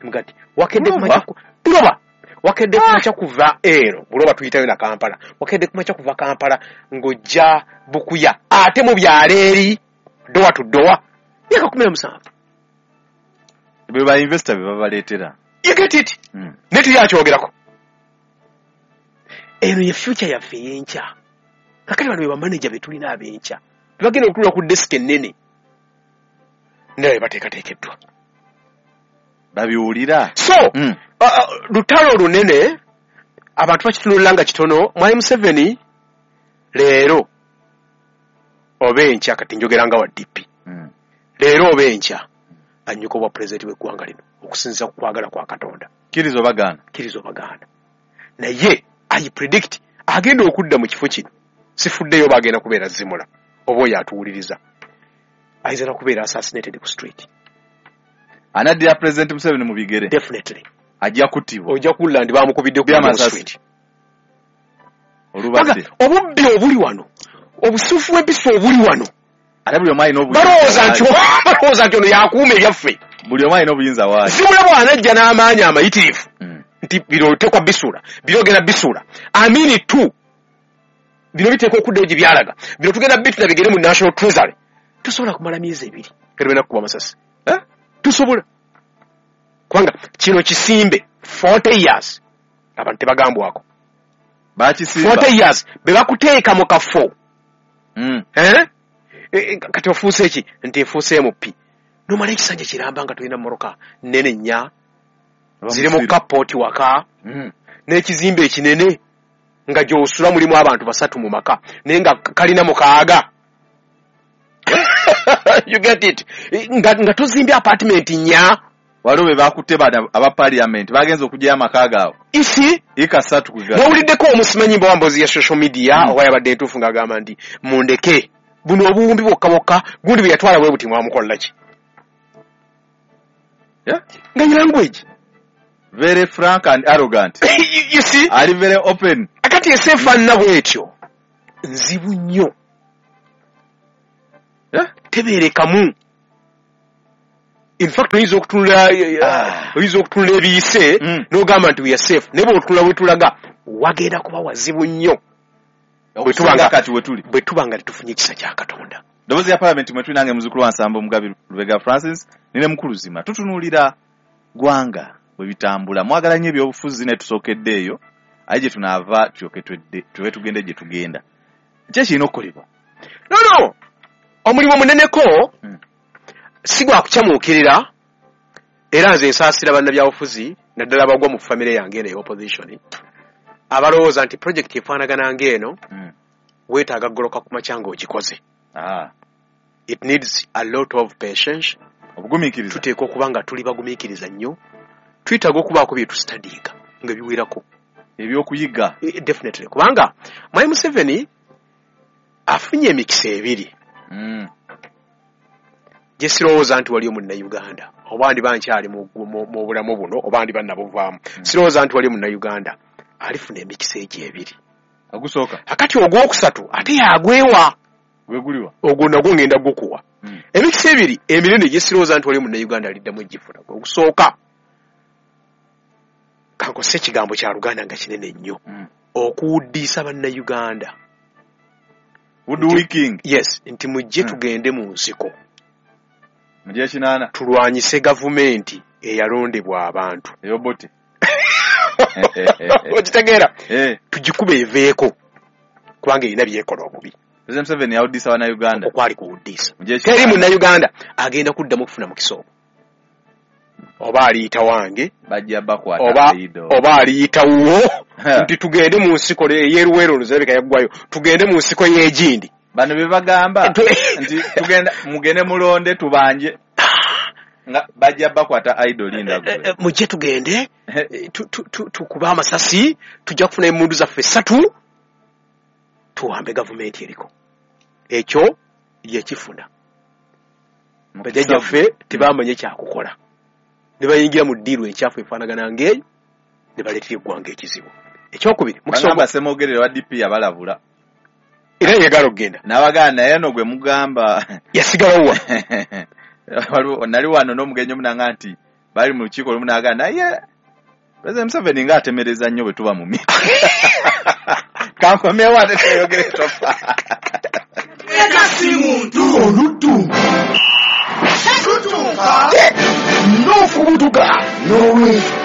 mugati wakedde kumakya buloba, wakedde kumakya kuva ero buloba tuyitayo na Kampala, wakedde kumakya kuva Kampala ng'ojja Bukuya ate mu byalo eri dowa tu dowa, myaka kkumi na musanvu. Be ba investor be babaleetera. You get it? Ne tuyakyogerako. Eno ye future yaffe ey'enkya. Kakati bano be bamaneja be tulina ab'enkya, tebagenda okutuula ku desike ennene, naye bateekateekeddwa babiwulira. So lutalo lunene, abantu bakitunulira nga kitono. Mwami Museveni leero oba enkya, kati njogera nga wa D P, leero oba enkya annyuka obwa pulezidenti w'eggwanga lino okusinziira ku kwagala kwa Katonda. Kkiriza obagaana, kkiriza obagaana, naye I predict agenda okudda mu kifo kino. Sifuddeyo bagenda kubeera Zimula oba oyo atuwuliriza, ayinza na kubeera assassinated ku street. Anaddira Pulezidenti Museveni mu bigere, definitely ajja kuttibwa. Ojja kuwulira nti bamukubidde ku street. Olubadde obubbi obuli wano, obusufu bw'empisa obuli wano, ate buli omu alina obuyinza. Balowooza nti balowooza nti ono yakuuma ebyaffe, buli omu alina obuyinza waayo. Zimula bw'anajja n'amaanyi amayitirivu nti bino oteekwa bisuula, bino ogenda bisuula, amini tu bino biteekwa okuddayo gye byalaga, bino tugenda bituna bigere mu National Treasury. Tosobola kumala myezi ebiri nga tebena kukuba masasi, tusobola, kubanga kino kisimbe forty years abantu tebagambwako. Bakisimba forty years be bakuteeka mu kafo. Eh? Kati ofuuse ki nti efuuse M P, nomala ekisanja kiramba nga tolina mmoroka nnene nnya ziri mu kapooti waka, n'ekizimbe ekinene nga gy'osula mulimu abantu basatu mu maka, naye nga kalina mukaaga. You get it? Nga, nga tozimbye apartment nnya. Waliwo be bakutte bano aba parliament bagenze okuggyayo amaka gaabwe isi ika ssatu ku nawuliddeko omusimanyi mba wambozi ya social media oba yabadde entuufu ng'agamba nti mundeke buno obuwumbi bwokka bwokka gundi bwe yatwala bwe buti mwamukola ki? Yeah? Nga ye language. Very frank and arrogant. You, you see? Ali very open. Akati ensi efaanana bw'etyo nzibu nnyo. Yeah? Tebeerekamu. In fact, oyinza okutunula Ah. oyinza okutunula ebiyise Mm. n'ogamba nti we are safe, naye bw'otunula bwe tulaga wagenda kuba wazibu nnyo Bwe tuba Okusinga nga- kati we tuli. bwe tuba nga tetufunye ekisa kya Katonda. Ddoboozi lya Palamenti mwe tuli, nange muzukulu wa Nsamba Omugabi Lubega Francis nine mukulu Zima. Tutunuulira ggwanga bwe bitambula. Mwagala nnyo ebyobufuzi ne tusookedde eyo, aye gye tunaava tulyoke twedde tulyoke tugende gye tugenda. Ki ekirina okukolebwa? No, no, omulimu muneneko Mm. si gwa kukyamuukirira, era nze nsaasira bannabyabufuzi naddala abagwa mu famire yange eno ey'opposition abalowooza nti project efaanagana ng'eno Mm. weetaaga goloka ku makya ng'ogikoze. Ah, It needs a lot of patience. Obugumiikiriza. Tuteekwa okuba nga tuli bagumiikiriza nnyo, twetaaga okubaako bye tusitadiika nga biwerako. Ebyokuyiga. Eh, definitely, kubanga Mwami Museveni afunye emikisa ebiri Mm. gye sirowooza nti waliyo munnayuganda oba ndiba nkyali mu, mu, mu bulamu buno oba ndiba nabuvaamu, sirowooza nti waliyo munnayuganda alifuna emikisa egyo ebiri. Ogusooka Akati ogwokusatu ate yagwewa. Gwe guliwa? Ogwo nagwo ngenda gukuwa. Mm. Emikisa ebiri eminene gye sirowooza nti waliyo munnayuganda aliddamu egifuna, ogusooka, kankose ekigambo kya Luganda nga kinene nnyo, Mm. okuwuddiisa bannayuganda. Woodwicking. Yes, nti mujje Mm. tugende mu nsiko Mu gyekinaana. tulwanyise gavumenti eyalondebwa abantu. Ey'Obote. Okitegeera? Eh, tugikube eveeko kubanga erina byekola obubi. President Museveni yawuddisa bannayuganda. Okwali kuwuddiisa. Mu gyekinaana. Teri munnayuganda agenda kuddamu okufuna mukisa ogwo, oba aliyita wange Bajja bakwata oba Aido. oba aliyita wuwo nti tugende mu nsiko ey'eruweero oluzalabika yaggwayo, tugende mu nsiko y'egindi. Bano be bagamba Tu- nti tugenda mugende mulonde tubanje nga bajja bakwata idol linda Eh, eh, gwe. Mujje tugende eh, tu- tu- tu- tukube amasasi, tujja kufuna emmundu zaffe essatu tuwambe gavumenti eriko. Ekyo yekifuna. Bajjajjaffe tebamanye kyakukola ne bayingira mu ddiiru enkyafu efaanagana ng'eyo ne baleetera eggwanga ekizibu. Ekyokubiri, mukisa Bagamba ogwo- Ssemogerere wa D P yabalabula. Era yegala okugenda. N'abagamba naye no gwe mugamba. Yasigalawo wa? Waliwo nali wano n'omugenyi omunanga nti bali mu lukiiko olumu n'agamba naye President Museveni ng'atemereza nnyo bwe tuba mu miti. Kankomyewo ate tweyogere tofa. Si muntu. Oluddu Tutuuka. N'okubutuka n'olwekyo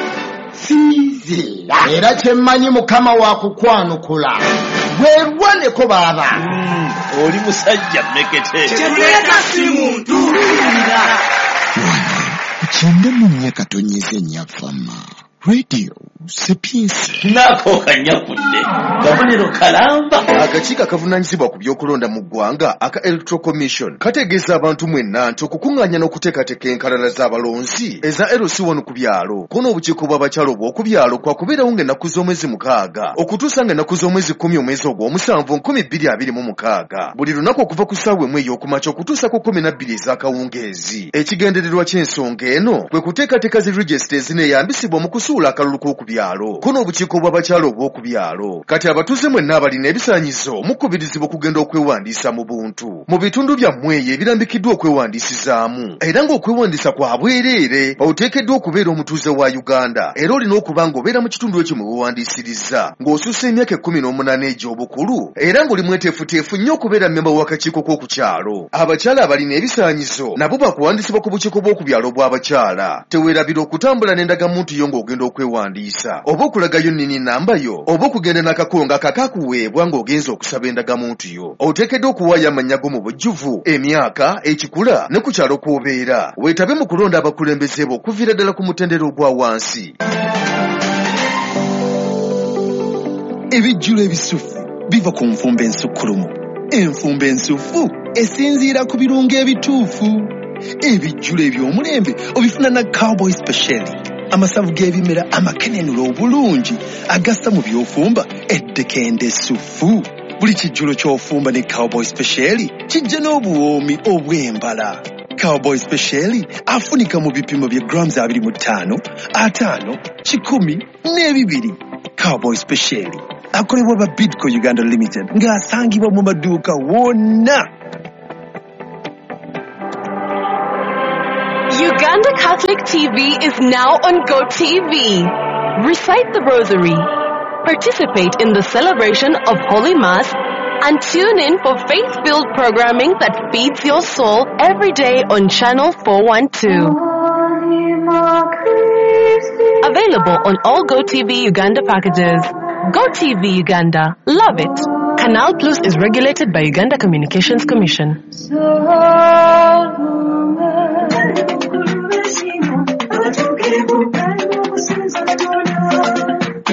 sinziira, era kyemmanyi Mukama wakukwanukula bwerwaneko baaba. Oli musajja mmekete. Kyetuleeta si muntu. Kyenda mu nnya katonnyeze ennyafama Radio Sapiensia. Nako kanyakudde kabonero kalamba. Akakiiko akavunaanyizibwa ku by'okulonda mu ggwanga aka Electoral Commission kategeeza abantu mwenna nti okukuŋŋaanya n'okuteekateeka enkalala z'abalonzi eza L C one ku byalo ko n'obukiiko bw'abakyala obw'oku byalo kwakubeerawo ng'ennaku z'omwezi mukaaga okutuusa ng'ennaku z'omwezi kkumi omwezi ogw'omusanvu nkumi bbiri abiri mu mukaaga, buli lunaku okuva ku ssaawa emu ey'okumakya okutuusa ku kkumi na bbiri ez'akawungeezi. Ekigendererwa ky'ensonga eno kwe kuteekateeka zi regisita ezineeyambisibwa mu kusuula akalulu k'oku byalo ko n'obukiiko bw'abakyala obw'oku byalo. Kati abatuuze mwenna abalina ebisaanyizo mukubirizibwa okugenda okwewandiisa mu buntu mu bitundu byammwe eyo ebirambikiddwa okwewandiisizaamu, era ng'okwewandiisa kwa bwereere. Oteekeddwa okubeera omutuuze wa Uganda era olina okuba ng'obeera mu kitundu ekyo mwe weewandiisiriza, ng'osussa emyaka ekkumi n'omunaana egy'obukulu, era ng'oli mweteefuteefu nnyo okubeera mmemba w'akakiiko k'oku kyalo. Abakyala abalina ebisaanyizo nabo bakuwandiisibwa ku bukiiko bw'oku byalo bw'abakyala. Teweerabira okutambula n'endagamuntu yo ng'ogenda okwewandiisa, oba okulagayo nnyini namba yo, oba okugenda n'akakongo akakakuweebwa ng'ogenza okusaba endagamuntu yo. Oteekeddwa okuwaayo amannya go mu bujjuvu, emyaka, ekikula ne ku kyalo kw'obeera. Weetabe mu kulonda abakulembeze bo okuviira ddala ku mutendera ogwa wansi. Ebijjulo ebisufu biva ku nfumba ensukkulumu. Enfumba ensufu esinziira ku birungo ebituufu. Ebijjulo eby'omulembe obifuna na Cowboy Special, amasavu g'ebimera amakenenula obulungi agassa mu by'ofumba eddekende essufu. Buli kijjulo ky'ofumba ne Cowboy Special kijja n'obuwoomi obw'embala. Cowboy Special afunika mu bipimo bya grams abiri mu ttaano, ataano, kikumi n'ebibiri. Cowboy Special akolebwa ba Bidco Uganda Limited ng'asangibwa mu maduuka wonna. Uganda Catholic T V is now on GoTV. Recite the Rosary, participate in the celebration of Holy Mass, and tune in for faith-filled programming that feeds your soul every day on Channel four one two. Available on all GoTV Uganda packages. GoTV Uganda. Love it. Canal Plus is regulated by Uganda Communications Commission.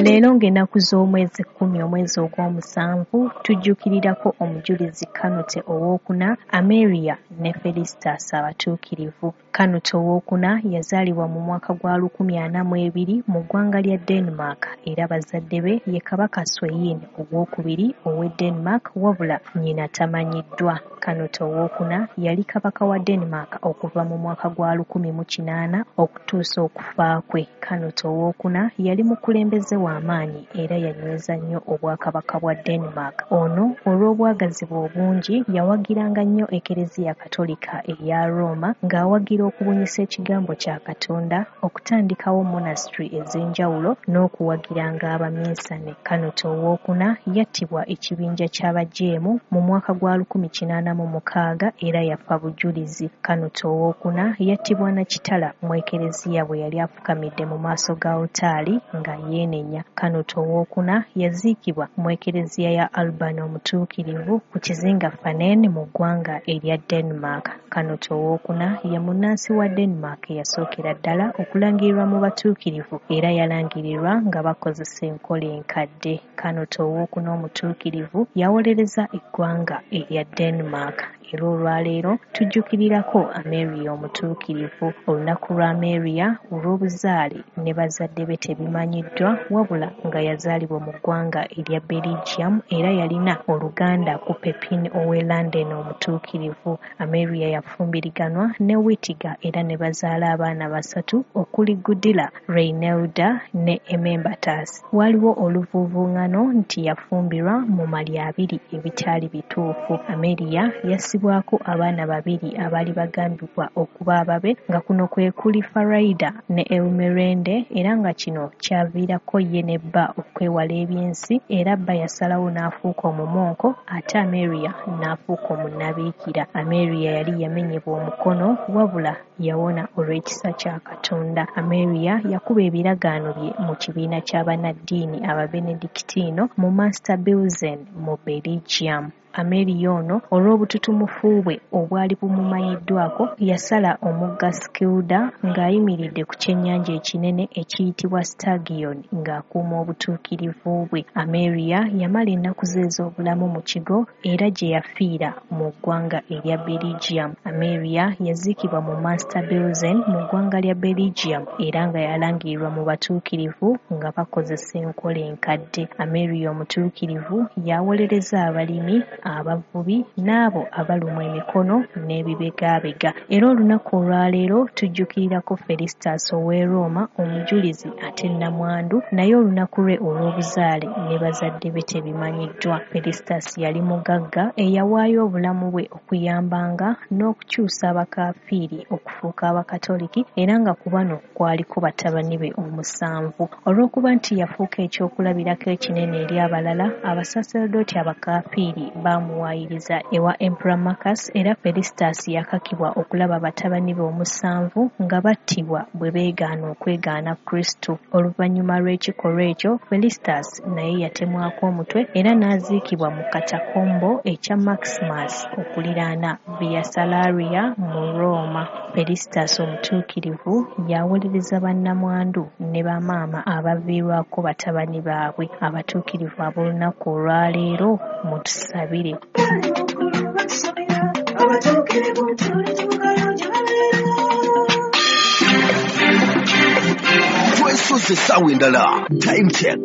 Leero ng'ennaku z'omwezi kkumi omwezi ogw'omusanvu tujjukirirako omujulizi Kanute owookuna Ameria ne Felistas abatuukirivu. Kanute owookuna yazaalibwa mu mwaka gwa lukumi ana mu ebiri mu ggwanga lya Denmark era bazadde be ye Kabaka Sweyn owookubiri ow'e Denmark wabula nnyina tamanyiddwa. Kanute owookuna yali kabaka wa Denmark okuva mu mwaka gwa lukumi mu kinaana okutuusa okufa kwe. Kanute owookuna yali mukulembeze w'amaanyi era yanyweza nnyo obwakabaka bwa Denmark. Ono olw'obwagazi bwe obungi yawagiranga nnyo Ekereziya Katolika eya Roma ng'awagira okubunyisa ekigambo kya Katonda, okutandikawo monastery ez'enjawulo n'okuwagiranga abaminsane. Kanute owookuna yattibwa ekibinja ky'abajeemu mu mwaka gwa lukumi kinaana mu mukaaga era yafa bujulizi. Kanute owookuna yattibwa na kitala mu Ekereziya bwe yali afukamidde mu maaso ga alutaali nga yeenenya. Kanute owookuna yaziikibwa mu Ekereziya ya Alban omutuukirivu ku kizinga Fanen mu ggwanga erya Denmark. Kanute owookuna ye munnansi wa Denmark eyasookera ddala okulangirirwa mu batuukirivu era yalangirirwa nga bakozesa enkola enkadde. Kanute owookuna omutuukirivu yawolereza eggwanga erya Denmark. Era olwaleero tujjukirirako Ameria omutuukirivu. Olunaku lwa Ameria olw'obuzaale ne bazadde be tebimanyiddwa wabula nga yazaalibwa mu ggwanga erya Belgium era yalina oluganda ku Pepin ow'e London omutuukirivu. Ameria yafumbiriganwa ne Wittiga era ne bazaala abaana basatu okuli Gudila, Reinelda ne Emembatas. Waliwo oluvuuvuŋŋano nti yafumbirwa mu malya abiri ebitaali bituufu. Ameria yassibwako abaana babiri abaali bagambibwa okuba ababe nga kuno kwe kuli Faraida ne Elmerende era nga kino kyaviirako ye ne bba okwewala ebyensi era bba yasalawo n'afuuka omumonko ate Ameria n'afuuka omunnabiikira. Ameria yali yamenyebwa omukono wabula yawona olw'ekisa kya Katonda. Ameria yakuba ebiragaano bye mu kibiina ky'abannaddiini Ababenedictino mu Master Bilzen mu Belgium. Ameria ono olw'obututumufu bwe obwali bumumanyiddwako yasala omugga Skilda ng'ayimiridde ku kyennyanja ekinene ekiyitibwa Stagion ng'akuuma obutuukirivu bwe. Ameria yamala ennaku ze ez'obulamu mu kigo era gye yafiira mu ggwanga erya Belgium. Ameria yaziikibwa mu Master Bilzen mu ggwanga lya Belgium era nga yalangirirwa mu batuukirivu nga bakozesa enkola enkadde. Ameria omutuukirivu yawolereza abalimi, abavubi n'abo abalumwa emikono n'ebibegaabega. Era olunaku olwaleero tujjukirirako Felistas ow'e Roma omujulizi ate nnamwandu naye olunaku lwe olw'obuzaale ne bazadde be tebimanyiddwa. Felistas yali mugagga eyawaayo obulamu bwe okuyambanga n'okukyusa abakafiiri okufuuka abakatoliki era nga ku bano kwaliko batabani be omusanvu. Olw'okuba nti yafuuka ekyokulabirako ekinene eri abalala, abasaserdooti abakafiiri baamuwaayiriza ewa Emperor Marcus era Felistas yakakibwa okulaba batabani be omusanvu nga battibwa bwe beegaana okwegaana Kristo. Oluvannyuma lw'ekikolwa ekyo, Felistas naye yatemwako omutwe era n'aziikibwa mu katakombo ekya Maximus okuliraana Via Salaria mu Roma. Felistas omutuukirivu yawolereza bannamwandu ne bamaama abaviirwako batabani baabwe. Abatuukirivu ab'olunaku olwaleero mutusabire. Twesoze essaawa endala. Time check.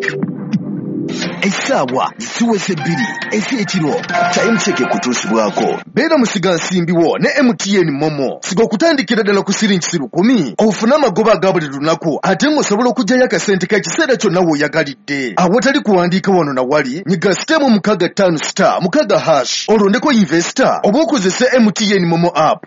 Essaawa ziweze bbiri ez'ekiro. Time Check ekutuusibwako Beera musigansimbi wo ne M T N MoMo. Siga okutandikira ddala ku siringi lukumi ofune amagoba aga buli lunaku, ate ng'osobola okuggyayo akasente k'ekiseera kyonna w'oyagalidde awatali kuwandiika wano na wali. Nyiga star mukaaga ttaano star mukaaga hash, olondeko investor oba okozese M T N MoMo app.